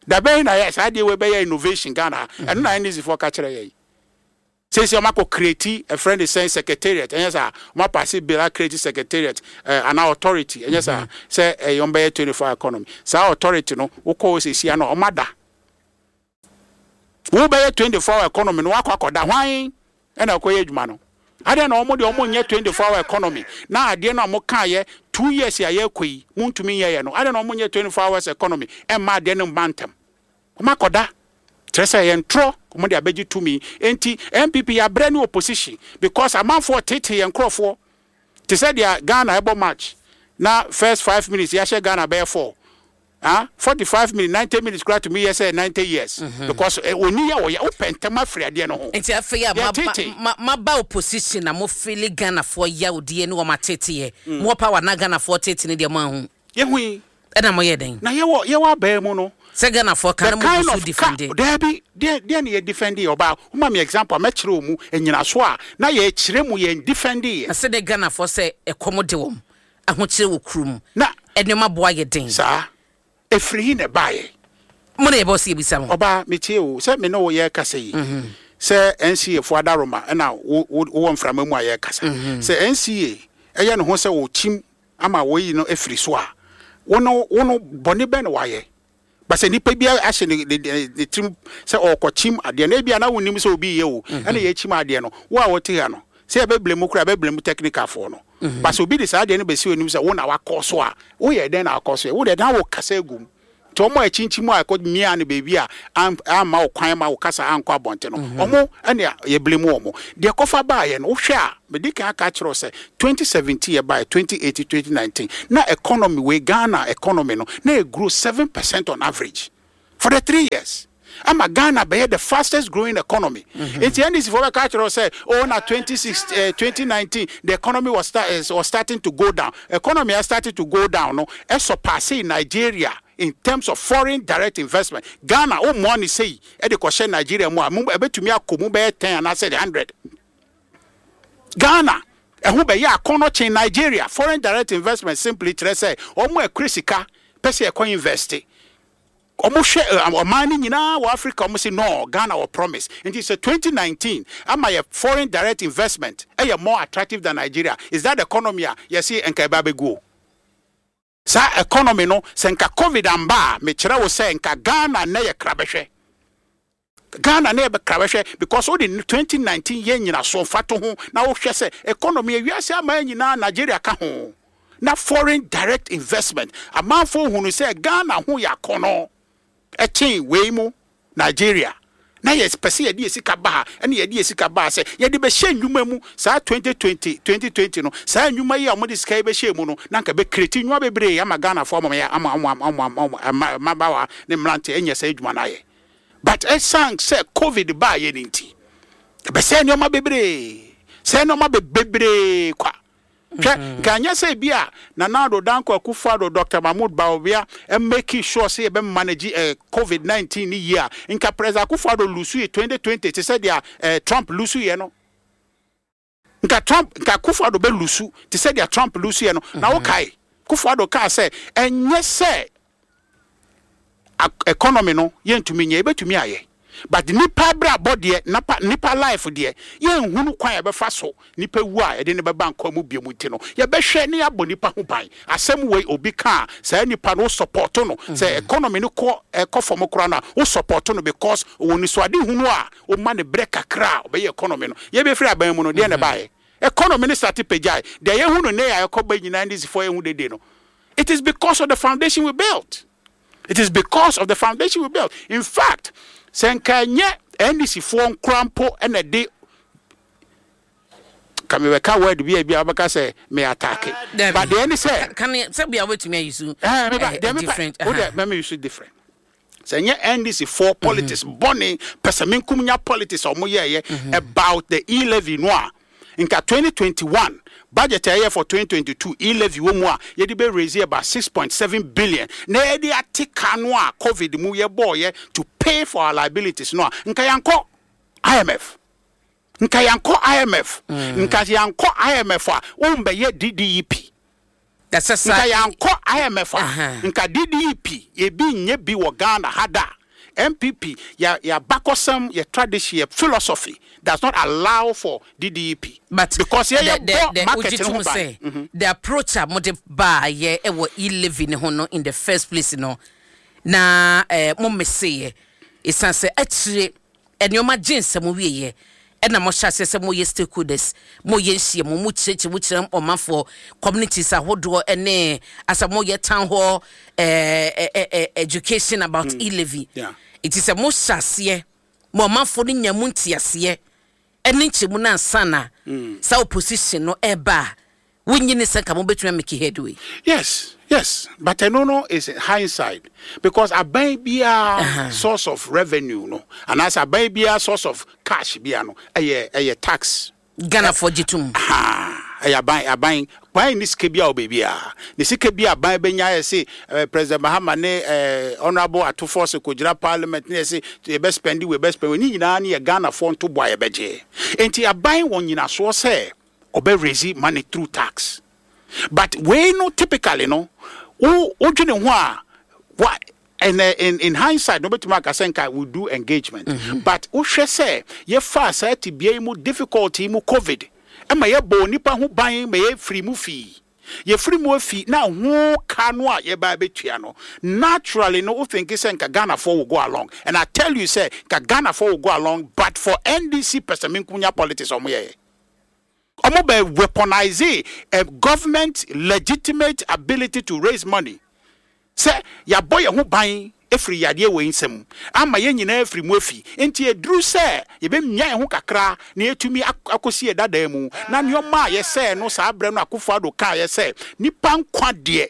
Dabɛn na yɛ saa adeɛ wei bɛyɛ innovation Ghana ha? Ɛno na NDC foɔ ka kyerɛ yɛ yi. Seesei ɔmo akɔ create ɛfrɛ ne sɛn, secretariat, ɛnyɛ saa? Ɔmo apass bill a create secretariat anaa authority, ɛnyɛ saa? Sɛ ɛyɛ ɔmo bɛyɛ 24 hour economy. Saa authority no wokɔ hɔ seesei a na ɔmo ada. Wo bɛyɛ 24 hour economy no wakɔ akɔda, hwan ɛna akɔyɛ adwuma no? Adeɛ na ɔmo deɛ ɔmo nyɛ 24 hour economy na adeɛ no a ɔmo kaa yɛ 2 years a yɛrekɔ yi mo ntumi nyɛ yɛ no, adeɛ na ɔmo nyɛ 24 hours economy ɛmma adeɛ no mma ntɛm? Ɔmo akɔda kyerɛ sɛ yɛn ntorɔ ɔmo de abɛgye tumi. Nti NPP yɛabrɛ ne opposition because amanfoɔ tete yɛn nkorɔfoɔ te sɛ deɛ Ghana ɛbɔ match na first 5 minutes yɛahyɛ Ghana bɛyɛ four, ah, 45 minutes, 90 minutes koraa tumi yɛ sɛ 90 years because oni yɛ ɔyɛ wopɛ ntɛm afiri adeɛ no ho. Nti afei a maba opposition na mo feel Ghanafoɔ yawdeɛ ne wɔn ateteɛ, mo wɔ power na Ghanafoɔ tete ne deɛ mo ahu? Yɛhu yi. Ɛna mo yɛ dɛn? Na yɛwɔ abɛn mu no. Sɛ Ghanafoɔ ka na mo gu so defend. Daabi, deɛ ne yɛ defend yɛ? Ɔbaa, woma me example a mɛkyerɛ wɔ mu nyinaso a na yɛkyerɛ mu yɛn defend yɛ. Na sɛ de Ghanafoɔ sɛ ɛkɔm de wɔn, ahokyerɛ wɔ kurom, na ɛnneɛma boa yɛ den. Saa ɛfiri hi na ɛbaeɛ? Mo na yɛbɛ sɛ yɛbisa mo. Ɔbaa, metie o. Sɛ me ne wo yɛrekasa yi, sɛ NCA fo adaroma ɛna wowɔ mframa mu a yɛrekasa, sɛ NCA ɛyɛ ne ho sɛ wɔkyim ama wɔyi no afiri so a, wo no bɔne bɛn na wayɛ? But sɛ nipa bi ahyɛ ne tirim sɛ ɔrekɔkyim adeɛ no, ebia na wonnim sɛ obi reyɛ o, ɛna yɛkyim adeɛ no, wo a wote ha no, sɛ yɛbɛblame wo koraa a, yɛbɛblame technicalfoɔ no. But sɛ obi de saa adeɛ no bɛsi w'anim sɛ wo na wakɔ so a, woyɛ dɛn na wakɔ so ɛ? Wo deɛ na wokasa agu mu. Nti wɔn a ɛkyinkyim a ɛkɔ miaa no baabi a amma wo kwan ma wo kasa ankɔ abɔnten no, wɔn na yɛblame wɔn. Deɛ ɛkɔfa baeɛ no, wohwɛ a, medi kan aka akyerɛ wo sɛ 2017 yɛbaeɛ, 2018, 2019, na economy wei, Ghana economy no, na ɛgrow 7% on average for the 3 years. Ama Ghana bɛyɛ the fastest growing economy. Nti NDC foɔ bɛka akyerɛ wo sɛ, oh na 26, 2019, the economy was starting to go down. Economy a started to go down no, ɛsurpassee Nigeria in terms of foreign direct investment. Ghana, wo mmoa no sei de kɔhyɛ Nigeria mu a, ɛbɛtumi akɔ mu bɛyɛ 10 anaasɛ 100. Ghana, ɛho bɛyɛ akɔnnɔ kyen Nigeria. Foreign direct investment simply kyerɛ sɛ wɔn a ɛkura sika pɛ sɛ yɛkɔ invest. Wɔhwɛ ɔman no nyinaa wɔ Africa, wɔn se no, Ghana wɔ promise. Nti sɛ 2019 ama yɛ foreign direct investment ɛyɛ more attractive than Nigeria, is that economy a yɛse nka ɛba abɛgu o? Saa economy no, sɛ nka COVID amba a, mekyerɛ wo sɛ nka Ghana nnɛ yɛ krabɛhwɛ. Ghana nnɛ yɛ krabɛhwɛ because wode 2019 yɛ nyinasoɔ mfatoho na wohwɛ sɛ economy ewiase aman nyinaa, Nigeria ka ho, na foreign direct investment amanfoɔ hunu sɛ Ghana ho yɛ akɔnɔ ɛkyen wei mu Nigeria, na yɛ pɛ sɛ yɛde yɛ sika ba ha, ɛna yɛde yɛ sika ba ha sɛ yɛde bɛhyɛ nnwuma mu. Saa 2020 2020 no, saa nnwuma yi a wɔde sika yi bɛhyɛ mu no, na nka bɛ create nnwuma bebree ama Ghanafoɔ, ama yɛ ama mmabaawa ne mmeranteɛ anya saa adwuma no ayɛ. But ɛsan sɛ COVID baayɛ no nti, ɛbɛsɛ nneɛma bebree, sɛ nneɛma bebree kwa. Hwɛ, nka nyɛ sɛ bi a Nana Addo Dankwa Akufo-Addo, Dr. Mahmoud Bawumia make sure sɛ yɛbɛ manage COVID-19 ne yie a, nka President Akufo-Addo lose yɛ 2020 te sɛ deɛ Trump lose yɛ no. Nka Trump, nka Akufo-Addo bɛ lose te sɛ deɛ Trump lose yɛ no. Na wokae, Akufo-Addo kaa sɛ ɛnyɛ sɛ economy no yɛntumi nyɛ, yɛbɛtumi ayɛ. But nipa abrabɔ deɛ, nipa life deɛ, yɛnhunu kwan a yɛbɛfa so nipa wu a yɛde ne bɛba nkwa mu bio mu nti no, yɛbɛhwɛ ne yɛabɔ nipa ho ban. Asɛm wei obi ka a, saa nipa no wo support no. Sɛ economy no kɔ ɛkɔ fam koraa no a, wo support no because ɔwɔ nisuade hunu a woma ne berɛ kakra a ɔbɛyɛ economy no. Yɛbɛfiri aban mu no, deɛ na ɛbaeɛ? Economy no start pagyae. Deɛ yɛhu no nnɛ a ɛkɔ ba nyinaa, NDCfoɔ yɛhu dede no, it is because of the foundation we built. It is because of the foundation we built. In fact, sɛ nka ɛnyɛ NDC foɔ nkora mpo ɛna de ka mebɛka word bi a bi a wobɛka sɛ me attack. But deɛ ne sɛ kan sɛ bia wobɛtumi ayi so meba deɛ mepa different. Wo deɛ mɛmɛ use different. Sɛ ɛnyɛ NDC foɔ politics bɔne pɛ sɛ menkum nya politics a ɔmo yɛɛyɛ about the e-levy no a, nka 2021 budget a ɛyɛ for 2022, e-levy wɔ mu a yɛde bɛ raise about 6.7 billion na yɛde ate ka no a COVID mu yɛbɔɔyɛ to pay for our liabilities no a, nka yɛnkɔ IMF, nka yɛnkɔ IMF, nka yɛnkɔ IMF a wombɛyɛ DDEP. Ɛsɛ sa nka yɛankɔ IMF a, nka DDEP ebi nyɛ bi wɔ Ghana ha da. NPP yɛ yɛabakɔsɛm, yɛ tradition, yɛ philosophy does not allow for DDEP but because yɛyɛ bɔ market wogye no tom ho ban. Sɛ the approach a mode baayɛ ɛwɔ e-levy ne ho no in the first place no na mo meseyɛ ɛsiane sɛ akyire nneɛma gye nsɛm wieɛ ɛna mohyɛ aseɛ sɛ moyɛ stakeholders, moyɛ nhyiamu, mo kyerɛkyerɛ mu kyerɛ ɔmanfoɔ, communities ahodoɔ, ɛne asɛ moyɛ town hall education about e-levy. Nti sɛ mohyɛ aseɛ ma ɔmanfoɔ no nya mu nteaseɛ ɛne nkyɛmu no ansa na saa opposition no ɛba a, wonyini sɛ nka mobɛtumi amake headway. Yes, but ɛno no is hindsight because aban biara source of revenue no anaasɛ aban biara source of cash biara no ɛyɛ tax. Ghanafoɔ gye tom. Ha, ɛyɛ aban kwan ne sika bi a wɔ baabi a ne sika bi a aban bɛnya yɛ se President Mahama ne Honourable Ato Forson kɔgyina parliament ne yɛ se yɛbɛ spend we yɛbɛ spend we ne nyinaa ne yɛ Ghanafoɔ ntoboa a yɛbɛgye. Nti aban wɔ nyinasoɔ sɛ ɔbɛ raise money through tax, but wei no typically no wo wodwene ho a wa and in hindsight no wobɛtumi aka sɛ nka we do engagement, but wohwɛ sɛ yɛfaa saa tibea yi mu, difficulty mu, COVID ɛma yɛbɔ onipa ho ban ma yɛfiri mu fii. Yɛfiri mu afi na ho ka no a yɛba abɛtua no, naturally no, wo think sɛ nka Ghanafoɔ will go along. And I tell you sɛ nka Ghanafoɔ will go along, but for NDC pɛsɛmenkonya politics a wɔyɛeɛ. Wɔn bɛ weaponize a government legitimate ability to raise money sɛ yɛabɔ yɛn ho ban afiri yadeɛ wei nsam ama yɛn nyinaa afiri mu afi. Nti ɛduru sɛ yɛbɛmia yɛn ho kakra na yɛatumi akɔsi yɛn dadaa mu na nneɛma a yɛsɛɛ no saa berɛ no Akufo Addo kaeɛ sɛ nnipa nkwa deɛ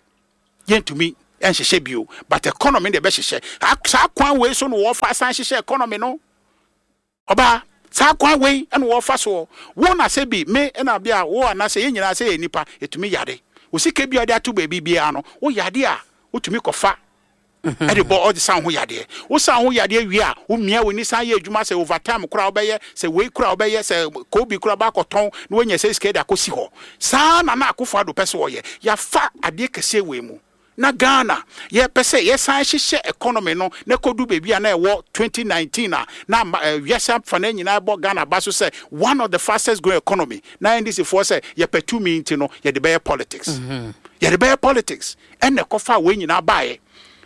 yɛntumi nhyehyɛ bio but economy no deɛ ɛbɛhyehyɛ. Saa kwan wei so na wɔfa san hyehyɛ economy no. Ɔbaa, saa kwan wei na wɔfa soɔ. Wo na sɛ bi, me na bi a, wo anaasɛ yɛn nyinaa sɛ yɛyɛ nnipa, yɛtumi yare. Wo sika bi a wode ato baabi biara no, wo yare a, wotumi kɔfa de bɔ, ɔde sa wo ho yadeɛ. Wo sa wo ho yadeɛ wie a, womia w'ani san yɛ adwuma, sɛ overtime koraa wobɛyɛ, sɛ wei koraa wobɛyɛ, sɛ koobi koraa wobɛakɔtɔn na woanya sɛ sika de akɔsi hɔ. Saa na na Akufo Addo pɛ sɛ ɔyɛ. Yɛafa adeɛ kɛseɛ wei mu. Na Ghana yɛpɛ sɛ yɛsan hyehyɛ economy no na ɛkɔdu baabi a na ɛwɔ 2019 a na ama wiase afanaa nyinaa bɔ Ghana aba so sɛ one of the fastest growing economy na NDC foɔ sɛ yɛpɛ tumi nti no yɛde bɛyɛ politics. Yɛde bɛyɛ politics ɛna ɛkɔfaa wei nyinaa baeɛ.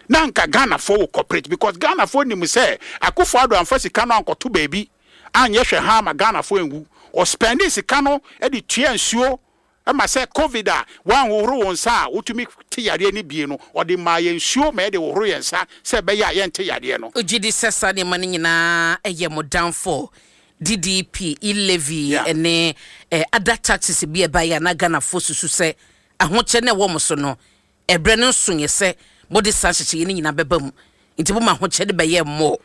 Na anka Ghanafoɔ will cooperate because Ghanafoɔ nim sɛ Akufo Addo amfa sika no ankɔto baabi anyɛ hwɛ haa ma Ghanafoɔ anwu. Ɔspɛndee sika no de tuaa nsuo Ɛma sɛ covid a woanhohoro wo nsa a wotumi te yareɛ no bie no, ɔde maa yɛn nsuo ma yɛde hohoro yɛn nsa sɛ ɛbɛyɛ a yɛnte yareɛ no. Wogye di sɛ saa nneɛma no nyinaa yɛ mo downfall? DDP, E-levy Yeah. ne other taxes bi a ɛbaeɛ a na Ghanafoɔ susu sɛ ahokyɛ no a ɛwɔ mo so no, ɛberɛ no nsoeɛ sɛ mode saa nhyehyɛeɛ no nyinaa bɛba mu. Nti moma ahokyɛ no bɛyɛɛ more.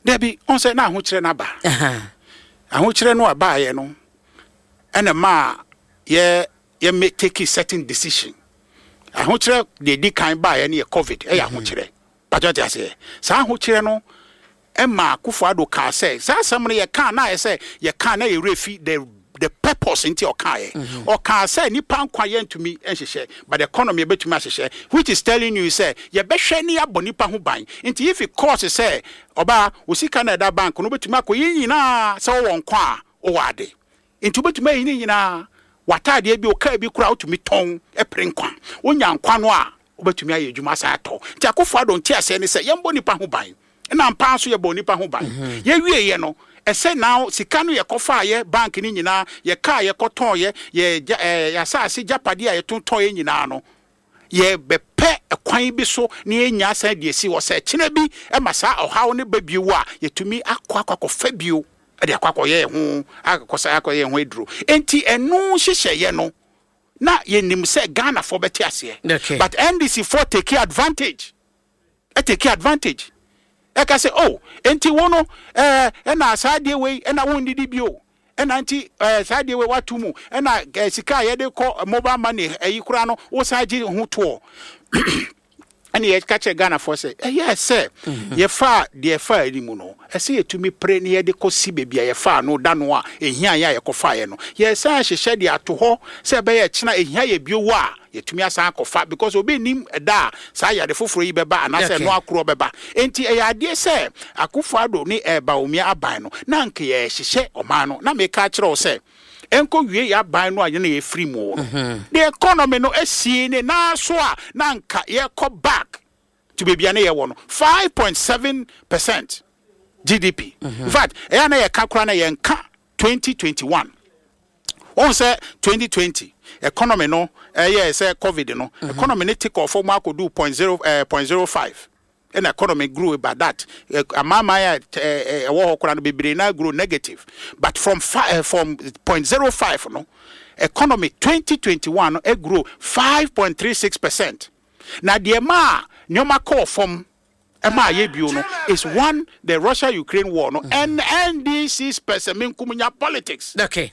Dabi, wohu sɛ na ahokyerɛ no aba. Aha. Ahokyerɛ no a ɛbaeɛ no ɛna ɛmaa yɛ yɛ make take certain decision. Ahokyerɛ deɛ edi kan baeɛ no yɛ covid, ɛyɛ ahokyerɛ. Patro te aseɛ. Saa ahokyerɛ no ɛma Akufo Addo kaa sɛ saa asɛm no yɛkaa na ayɛ sɛ yɛkaa na yɛwerɛ fi the the purpose nti ɔkaeɛ. Ɔkaa sɛ nipa nkwa yɛntumi nhyehyɛ but the economy yɛbɛtumi ahyehyɛ, which is telling you sɛ yɛbɛhwɛ ne yɛabɔ nipa ho ban. Nti if it costs sɛ ɔbaa wo sika no a ɛda bank no wobɛtumi akɔyi nyinaa sɛ wowɔ nkwa a wowɔ ade. Nti wobɛtumi ayi ne nyinaa, w'ataadeɛ bi, wo kaa bi koraa wotumi tɔn pere nkwa. Wonya nkwa no a, wobɛtumi ayɛ adwuma asan atɔ. Nti Akufo Addo nteaseɛ ne sɛ yɛmbɔ nnipa ho ban. Ɛna ampa ara nso yɛbɔɔ nnipa ho ban. Yɛwieɛ no, ɛsɛ now sika no yɛkɔfaeɛ, bank no nyinaa, yɛ kaa yɛkɔtɔeɛ, yɛ gya ɛɛ yɛ asaase gyapadeɛ a yɛtontɔeɛ nyinaa no, yɛbɛpɛ kwan bi so na yɛanya asan de asi hɔ sɛ kyena bi ma saa ɔhaw no ba bio a, yɛtumi akɔ akɔ akɔfa bio de akɔ akɔyɛ yɛn ho akɔsa akɔyɛ yɛn ho aduro. Enti ɛno nhyehyɛeɛ no na yɛnim sɛ Ghanafoɔ bɛte aseɛ. Okay. But NDC foɔ take advantage. Take advantage. Ɛka sɛ oh, enti wo no ɛɛ ɛna saa adeɛ wei ɛna wonnidi bio. Ɛna nti ɛɛ saa adeɛ wei wato mu ɛna ɛɛ sika a yɛde kɔ mobile money ɛyi koraa no wosan gye ho toɔ. Ɛna yɛka kyerɛ Ghanafoɔ sɛ ɛyɛ sɛ yɛfaa deɛ yɛfaa anim no ɛsɛ yɛtumi pere na yɛde kɔsi baabi a yɛfaa no da no a ɛhia yɛ a yɛkɔfaeɛ no. Yɛsan hyehyɛ de ato hɔ sɛ ɛbɛyɛ kyena ɛhia yɛ bio a yɛtumi asan akɔfa because obi nnim ɛda a saa yare foforɔ yi bɛba anaasɛ ɛno akorɔ bɛba. Enti ɛyɛ adeɛ sɛ Akufo Addo ne Bawumia aban no na anka yɛrehyehyɛ ɔman no. Na meka akyerɛ wo sɛ ɛnkɔ wie yɛ aban no a yɛn na yɛfiri mu no, the economy no asi ne nan so a na anka yɛrekɔ back to baabi a na yɛwɔ no, 5.7% GDP. In fact, ɛyɛ a na yɛka koraa na yɛnka 2021. Wohu sɛ 2020 economy no ɛyɛɛ sɛ covid no, economy no take off mu akɔduu point zero eh, point zero five ɛna economy grew by that. Amanaman a ɛwɔ hɔ koraa no bebree na grow negative, but from fi, from 0.05 no economy 2021 no grow 5.36%. Na deɛ maa nneɛma kɔɔ fam ɛma ayɛ bio no is one, the Russia Ukraine war no and NDC's pɛsɛmenkominya politics. Okay.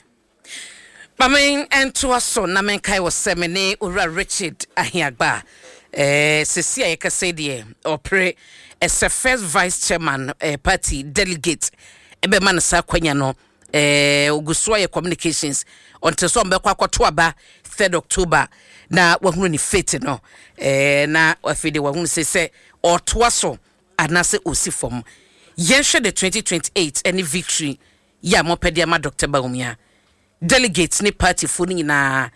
Ma me ntoa so na menkae wɔ sɛ me ne Owura Richard Ahiagba eh, sesi a yɛkasa yi deɛ ɔpere ɛsɛ first vice chairman eh, party delegate ɛbɛma no saa kwanya no eh, ogu so ayɛ communications ɔnte sɛ ɔmbɛkɔ akɔto aba 3rd October na wahunu ne fate no eh, na afei de wahunu sɛ sɛ ɔtoa so anaasɛ ɔsi fam. Yɛnhwɛ the 2028 ɛne victory yi a mopɛ de ama Dr. Bawumia. Delegates ne partyfoɔ no nyinaa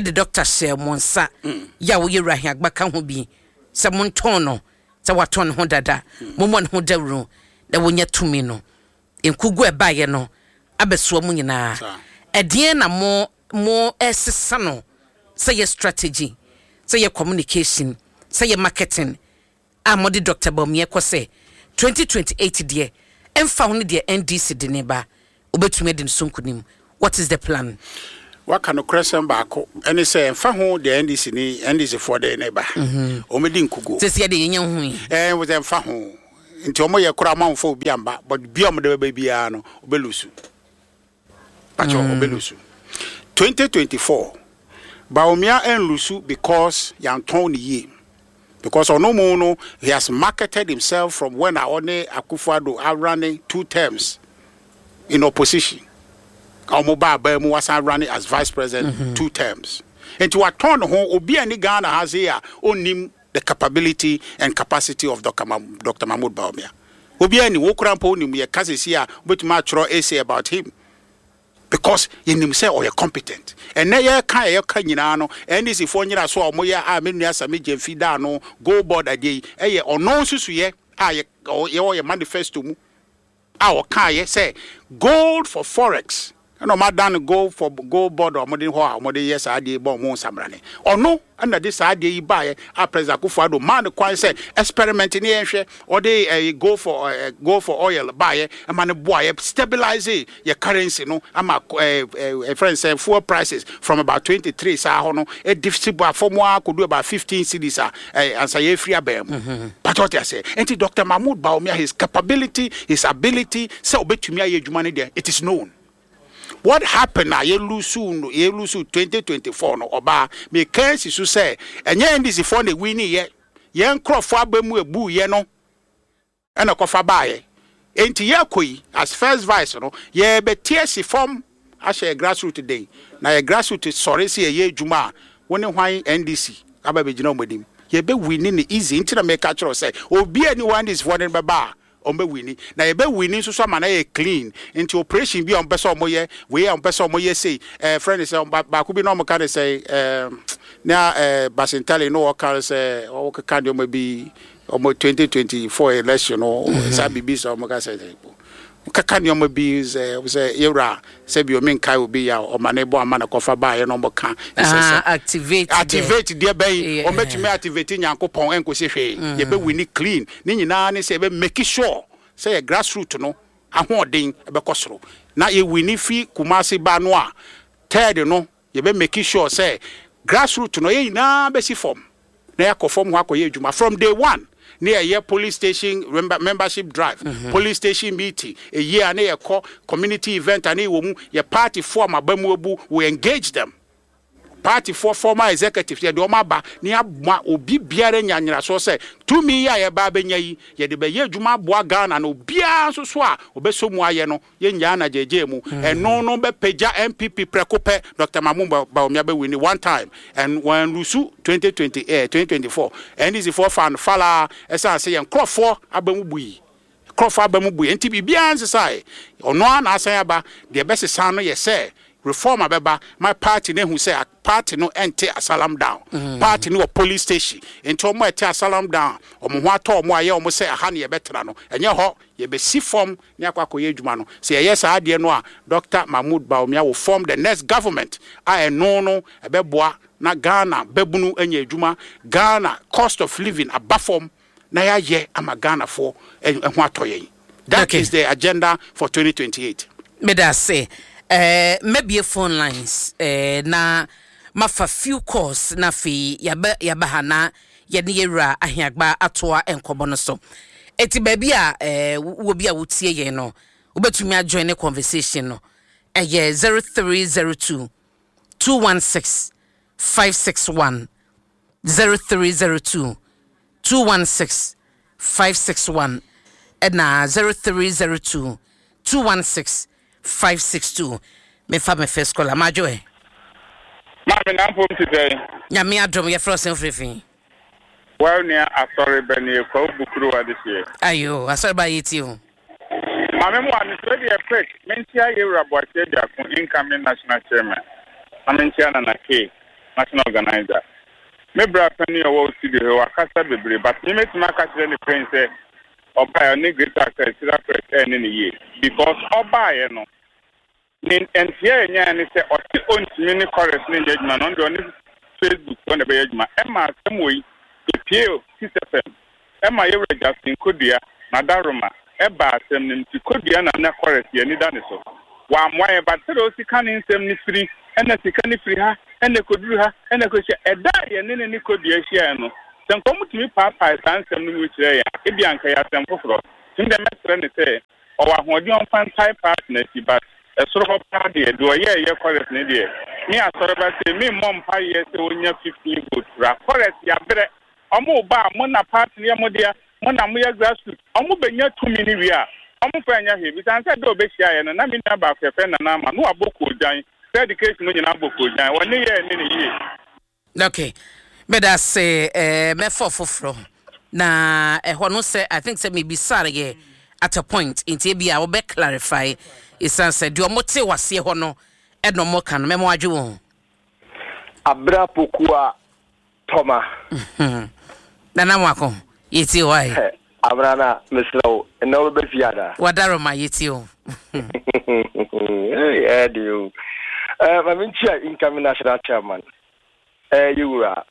de dɔkta hyɛɛ mo nsa yɛ a woyɛ Wura Ahiagba ka ho bi sɛ montɔn no sɛ watɔn ne ho dada, mommɔ ne ho dawuro na wɔnya tumi no. Nkugu a ɛbaeɛ no abɛsoa mo nyinaa. Ɛdeɛn na mo mo resesa no sɛ yɛ strategy, sɛ yɛ communication, sɛ yɛ marketing a mode Doctor Bawumia kɔ sɛ 2028 deɛ ɛmfa ho ne deɛ NDC de ne ba wobɛtumi adi ne so nkunim? What is the plan? Waka nokorɛsɛm baako, ɛne sɛ ɛmfa ho deɛ NDC ne NDC foɔ de ne ba, wɔn bɛdi nkuguo. Sɛsi ɛdeɛ yɛnya nhui. Ɛɛ sɛ ɛmfa ho, nti wɔn yɛ koraa wɔn amfa obi amba, but bia wɔn de bɛba biara no, wɔbɛ lusu. Pakyɛ wɔbɛ lusu. 2024, Bawumia ɛnlusu because yɛantɔn ne yie. Because ɔno mu no, he has marketed himself from when a ɔne Akufo-Addo arane two terms in opposition. A wɔn ba abaa mu wasan running as vice president two terms. Nti watɔn ne ho, obi a ni Ghana ha sei a ɔnnim the capability and capacity of Dr. Ma Dr. Mahmoud Bawumia. Obi a ni wo kora mpo wonim yɛ ka sesi a wobɛtumi atwerɛ essay about him. Because yɛnim sɛ ɔyɛ competent. Ɛnnɛ yɛreka a yɛka nyinaa no, NDC foɔ nyina so a wɔyɛ a me nua Sammy Gyamfi daa no gold board adeɛ yi, ɛyɛ ɔno nsusuiɛ a yɛ yɛwɔ yɛ manifesto mu a ɔkaeɛ sɛ gold for forex ɛna wɔn adan no gold for gold board a wɔde hɔ a wɔde yɛ saa adeɛ yi bɔ wɔn nsamrane. Ɔno ɛna de saa adeɛ yi baeɛ a President Akufo-Addo maa no kwan sɛ experiment ne yɛnhwɛ. Ɔde ɛyi gold for ɛɛ gold for oil baeɛ ɛma no boaeɛ stabilize yɛ currency no ama ɛɛ ɛɛ ɛfrɛ no sɛ fuel prices from about 23 saa hɔ no ɛdi si ba fam ara kɔdu about 15 cedis a ɛɛ ansa yɛfiri abɛn mu. Pàtó ɔte aseɛ. Nti Dr. Mahmoud Bawumia, his capability, his ability sɛ ɔbɛtumi ayɛ adwuma no deɛ, it is known. What happened a yɛ lose no, yɛ lose 2024 no, ɔbaa meka asi so sɛ ɛnyɛ NDC foɔ na ɛwini yɛ, yɛn nkorɔfoɔ aba mu ebu yɛ no ɛna kɔfa baayɛ. Enti yɛkɔ yi as first vice no, yɛbɛte asi fam ahyɛ yɛ grassroot den, na yɛ grassroot sɔre sɛ yɛyɛ adwuma a, wo ne hwan NDC aba bɛgyina wɔn anim? Yɛbɛ wini no easy. Nti na meka kyerɛ wo sɛ obi a ni hɔ NDC foɔ de no bɛba a wɔn bɛ wini, na yɛbɛ wini nso so ama no ayɛ clean. Nti operation bi a wɔn pɛ sɛ wɔn yɛ wei a wɔn pɛ sɛ wɔn yɛ sei, ɛɛ frɛ ne sɛ baako bi na wɔn ka ne sɛ ɛɛ na ɛɛ Basintale na wɔka sɛ wɔkeka nneɛma bi wɔn 2024 election no saa biribi sɛ wɔn ka sɛ keka nneɛma bi sɛ sɛ yɛwura sɛ bi omi nkae obi ya ɔma ne bɔ ama na kɔfa baayɛ na wɔn ka sɛ sɛ activate activate deɛ bɛyi wɔn bɛtumi activate Nyankopɔn ɛnkosi hwee. Yɛbɛ wini clean. Ne nyinaa ne sɛ yɛbɛ make sure sɛ yɛ grassroot no ahoɔden ɛbɛkɔ soro na yɛ wini fi Kumasi ba no a, third no yɛbɛ make sure sɛ grassroot no yɛ nyinaa bɛsi fam na yɛakɔ fam hɔ akɔyɛ adwuma from day one ne yɛyɛ police station membership drive, police station meeting, ɛyie a ne yɛkɔ community event a ne yɛwɔ mu, yɛ party foɔ a maba mu abu, we engage them. Party foɔ former executives yɛde wɔn aba ne ama obi biara nya nyinasoɔ sɛ tumi yi a yɛba abɛnya yi yɛde bɛyɛ adwuma aboa Ghana, na obiara nso so a ɔbɛsɔ mu ayɛ no yɛnnyaa na gyegye mu. Ɛno no bɛpagya NPP prɛko pɛ. Dr. Mahmoud Bawumia bɛwini one time and wɔn lose 2020 eh, 2024 NDC foɔ fa no falaa ɛsiane sɛ yɛn nkurɔfoɔ aba mu bui, nkurɔfoɔ aba mu bui, nti biribiara nsesae. Ɔno ara na asan aba. Deɛ ɛbɛsesa no yɛ sɛ reform abɛba ma party no ehu sɛ party no ɛnte Asylum Down, party no wɔ police station. Nti wɔn a ɛte Asylum Down wɔn ho atɔ wɔn a ɛyɛ wɔn sɛ aha ne yɛbɛtena no, ɛnyɛ hɔ, yɛbɛsi fam ne akɔ akɔyɛ adwuma no. Sɛ yɛyɛ saa adeɛ no a, Dr. Mahmoud Bawumia will form the next government a ɛno no ɛbɛboa na Ghana bɛbunu anya adwuma, Ghana cost of living aba fam, na yɛayɛ ama Ghanafoɔ ho atɔ yɛn. That is the agenda for 2028. Meda ase. Eh, mɛbie phone lines eh, na mafa few calls na afei yɛaba yɛaba ha na yɛne yɛwura Ahiagba atoa nkɔmmɔ no so. Eti baabi a eh, wɔ bi a wotie yɛn no, wobɛtumi ajoin ne conversation no. Ɛyɛ 0302 216 561, 0302 216 561 ɛna 0302 216 562. Mefa me first caller. Madwo ɛ. Maame na mpom te sɛn? Nyame adom. Yɛfrɛ wo sɛn, wofiri fi? Wa nua asɔre bɛ ne Kwawu Bukuru adehyeɛ. Ayo, asɔre ba, yɛtie o. Maame mu a mesrɛ deɛ quick, menkyia Yɛwura Boakye Aduako, incoming national chairman, na menkyia Nana K. National Organiser. Me bra panin a ɔwɔ studio ha yi wakasa bebree but me mɛtumi aka kyerɛ no plain sɛ ɔbaeɛ ɔne Greater Accra Sira Press ɛnne no yie because ɔbaeɛ no ne nteɛ a yɛnyaeɛ ne sɛ ɔse ɔntumi ne chorus no nyɛ adwuma no ɔno deɛ ɔne Facebook foɔ na ɛbɛyɛ adwuma ɛma asɛm wei ɛpue Peace FM ɛma yɛwura Justin Kodua Nadaroma ɛbaa asɛm no mu nti Kodua na na chorus yɛn ani da ne so wammoa yɛn but sɛdeɛ ɔsi ka ne nsɛm no firi ɛna sika no firi ha ɛna ɛkɔduru ha ɛna ɛkɔhyia ɛda a yɛne ne ne Kodua hyiaeɛ no sɛ nka wɔtumi paapae saa nsɛm no mu kyerɛɛ yɛn a ebia anka ɛyɛ asɛm foforɔ nti me deɛ mɛsrɛ no sɛ Ɔwɔ ahoɔden a ɔmfa ntae party no akyi but ɛsoro hɔ paa deɛ, deɛ ɔyɛɛyɛ chorus no deɛ, me asɔreba sei me mmɔ mpaeɛ sɛ ɔnya 15 vote koraa. Chorus yabrɛ, ɔmo ba a mo na party no yɛ mo dea, mo na moyɛ grassroots, ɔmo bɛnya tumi no wie a, ɔmo mfa nyɛ hwee. Bisane sɛ da a ɔbɛhyiaeɛ no na me nua baako yɛfrɛ no Nana Ama na wabɔ koogyan, sɛ education mu nyinaa bɔ koogyan, ɔne yɛɛ ne no yie. Okay, meda ase eh, mɛfa foforɔ na ɛhɔ no sɛ I think sɛ mebisa yɛ at a point nti ebi a wɔbɛ clarify esan sɛ deɛ wɔn te waseɛ hɔ no ɛna wɔn ka no mɛmo adwe wɔn. Abra Pokua Tɔma. Nana Mwako, yɛtie wo ae. Abra na mesrɛ wo, ɛnɛ wobɛba fie anaa? Wadaroma, yɛtie wo. Hey, ɛyɛ den o. Eh, ma menkyia incoming national chairman, eh, yɛwura,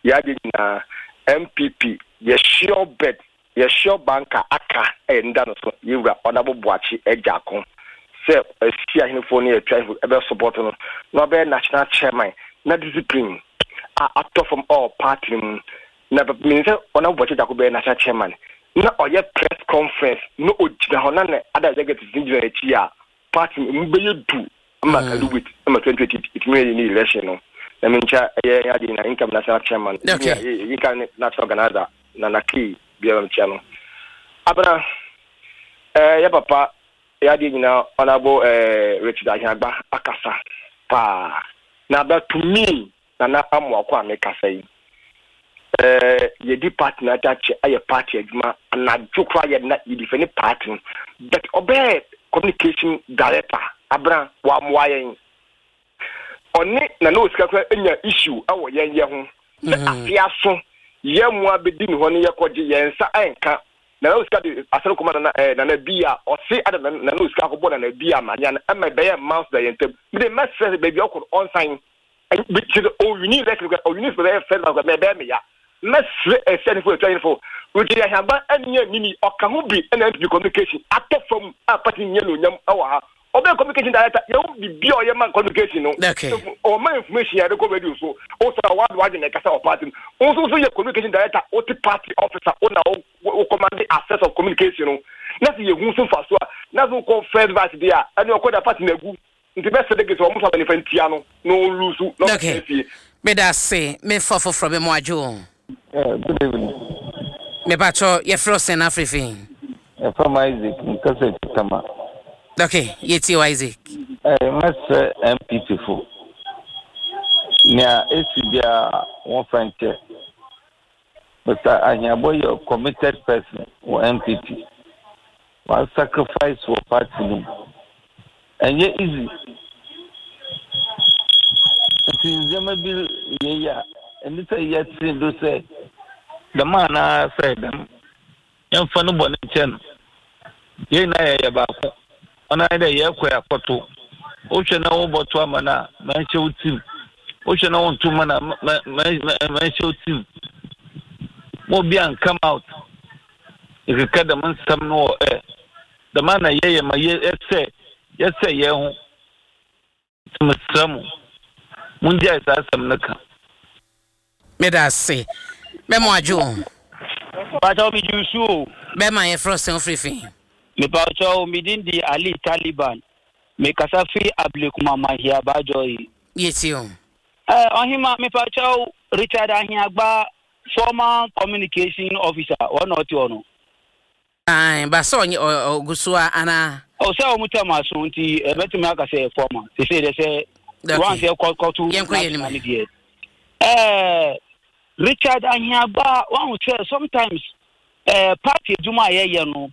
yɛ adeɛ nyinaa, MPP, yɛ sure bet, yɛ sure banker aka ɛyɛ nda no so, yɛwura Honorable Boakye Agyarko, sɛ asi ahenefoɔ ne atu ahemfo ɛbɛ support no, na wabɛyɛ national chairman, na discipline a atɔ fam ɔwɔ party no mu, Na menim sɛ Honourable Boakye Agyarko bɛyɛ national chairman na ɔyɛ press conference na ogyina hɔ na ne other executives no gyina n'akyi a party no emu bɛyɛ du ma mm. Kaluwit ma 2020 ɛtumi yɛ ne election no na menkyɛ ɛyɛ yɛn adeɛ nyinaa income national chairman okay. income national organizer na na key biara mekyia no abena eh, yɛ papa yɛ adeɛ nyinaa Honourable eh, Richard Ahiagba akasa paa na abɛ to me Nana Amoako a mekasa yi, eh, yɛdi party no akyɛ ayɛ party adwuma anadwo koraa yɛ na yɛdi fɛ ne party no but ɔbɛyɛ communication director abena wammoa yɛn ɔne Nana Osika koraa anya issue ɛwɔ yɛn yɛ ho sɛ mm. afe aso yɛn mmoa bɛdi ne hɔ ne yɛkɔgye yɛn nsa ɛnka Nana Osika de asɛm kɔma Nana eh, Nana bi a ɔse ada Nana Osika akɔbɔ Nana bi a manya no ɛma ɛbɛyɛ mmounce da yɛn ntam mede mɛsrɛ sɛ baabi a ɔkɔ no ɔnsan kyerɛ owini lɛk no owini sɛ bɛyɛ fɛn na bɛyɛ me ya mɛsrɛ ɛsɛ ne fo ɛtwa yɛn fo wogye yɛ ahaba ɛnyɛ nini ɔka ho bi ɛna npp communication atɔ fam a party nyɛ no onyam ɛwɔ ha ɔbɛyɛ communication director yɛn ho bibi a ɔyɛ ma communication no ɔma information yɛde kɔ radio so o sɛ ɔwɔ ado adwene ɛkasa wɔ party no o nso so yɛ communication director o te party officer o na o command access of communication no na sɛ yɛ hu so fa so a na so kɔ first vice deɛ a ɛne ɔkɔ da party na agu Nti bɛ sɛ dege sɛ ɔmo fa bɛ nifa ntia no na ɔnlusu na ɔmo tena fie. Meda ase me fa foforɔ me mo adwo o. Eh, good evening. Me pa kyɛw yɛ frɛ wo sɛn na afiri fi? Yɛfrɛ me Isaac, me kasa fi Tama. Ok, yɛ tie wo Isaac. Eh, mɛsrɛ NPP fo, nea esi biara wɔn fa nkyɛ. Mister Ahiabɔ yɛ committed person wɔ NPP. Wa sacrifice wɔ party no mu. Ɛnyɛ easy. Nti ndzɛmba bi yɛyɛ a, ɛnni sɛ yɛtse do sɛ dɛm anaa sɛ dɛm. Yɛmfa no bɔne nkyɛ no. Yɛn nyinaa yɛyɛ baako. Ɔno ara nye dɛ yɛkɔ akɔto. Wohwɛ na wobɔto ama no a, ma nhyɛ wo tsir. Wohwɛ na wonnto mma no a, ma ma ma nhyɛ wo tsir. Ma obi annkam out nkeka dɛm nsɛm no wɔ ɛ. Dɛm ara na yɛyɛ ma yɛsɛɛ yɛsɛɛ hɛnho. Nti mesrɛ mo, mongyae saa asɛm no ka. Meda ase. Mɛma wadwo o. Pakyɛw me gye nsu o. Bɛma yɛfrɛ wo sɛn wofiri fi? Mepakyɛw me din de Ali Taliban. Me kasa firi Ablekuma Mahia Bajoi. Yɛtie o. Eh, Ɔhema mepakyɛw Richard Ahiagba former communication officer wɔn na ɔte hɔ no. Ae, ba sɛ ɔnyɛ ɔgu so a anaa? O sɛ wɔn tɛm aso nti ɛbɛtumi aka sɛ fɔma sese dɛ sɛ wɔn sɛ kɔtu national ne deɛ. Ɛɛ Richard Ahiagba wɔn sɛ sometimes ɛɛ party adwuma a yɛyɛ no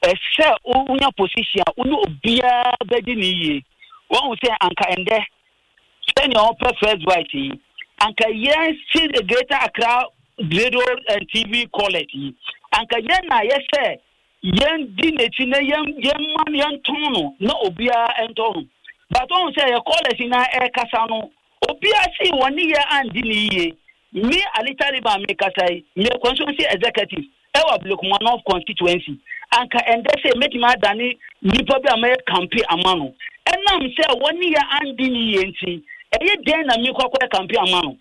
ɛsɛ wonya position a wone obiara bɛdi ne yie wɔn sɛ anka ɛndɛ sɛnea ɔpɛ first vice yi. Anka yɛn si the Greater Accra Radio and TV College yi, anka yɛn na yɛsɛ yɛn di n'akyi na yɛn yɛn ma no yɛn tɔn no na obiara ntɔ no. But ɔn sɛ yɛ callers nyinaa ɛrekasa no, obiara si wɔn ne yɛ andi ne yie. Me Ali Taliban me kasa yi, me yɛ constituency executive ɛwɔ Ablekuma North constituency. Anka ɛndɛ sɛ mɛtumi adane nipa bi a mɛyɛ campaign ama no. Ɛnam sɛ wɔn ne yɛ andi ne yie nti, ɛyɛ dɛn na mekɔ akɔyɛ campaign ama no?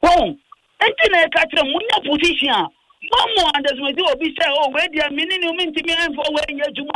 Wahu? Enti na yɛka kyerɛ mo, monya position a, moammo underestimate obi sɛ, oh, wei deɛ me ne no mentumi mfa wei nyɛ adwuma.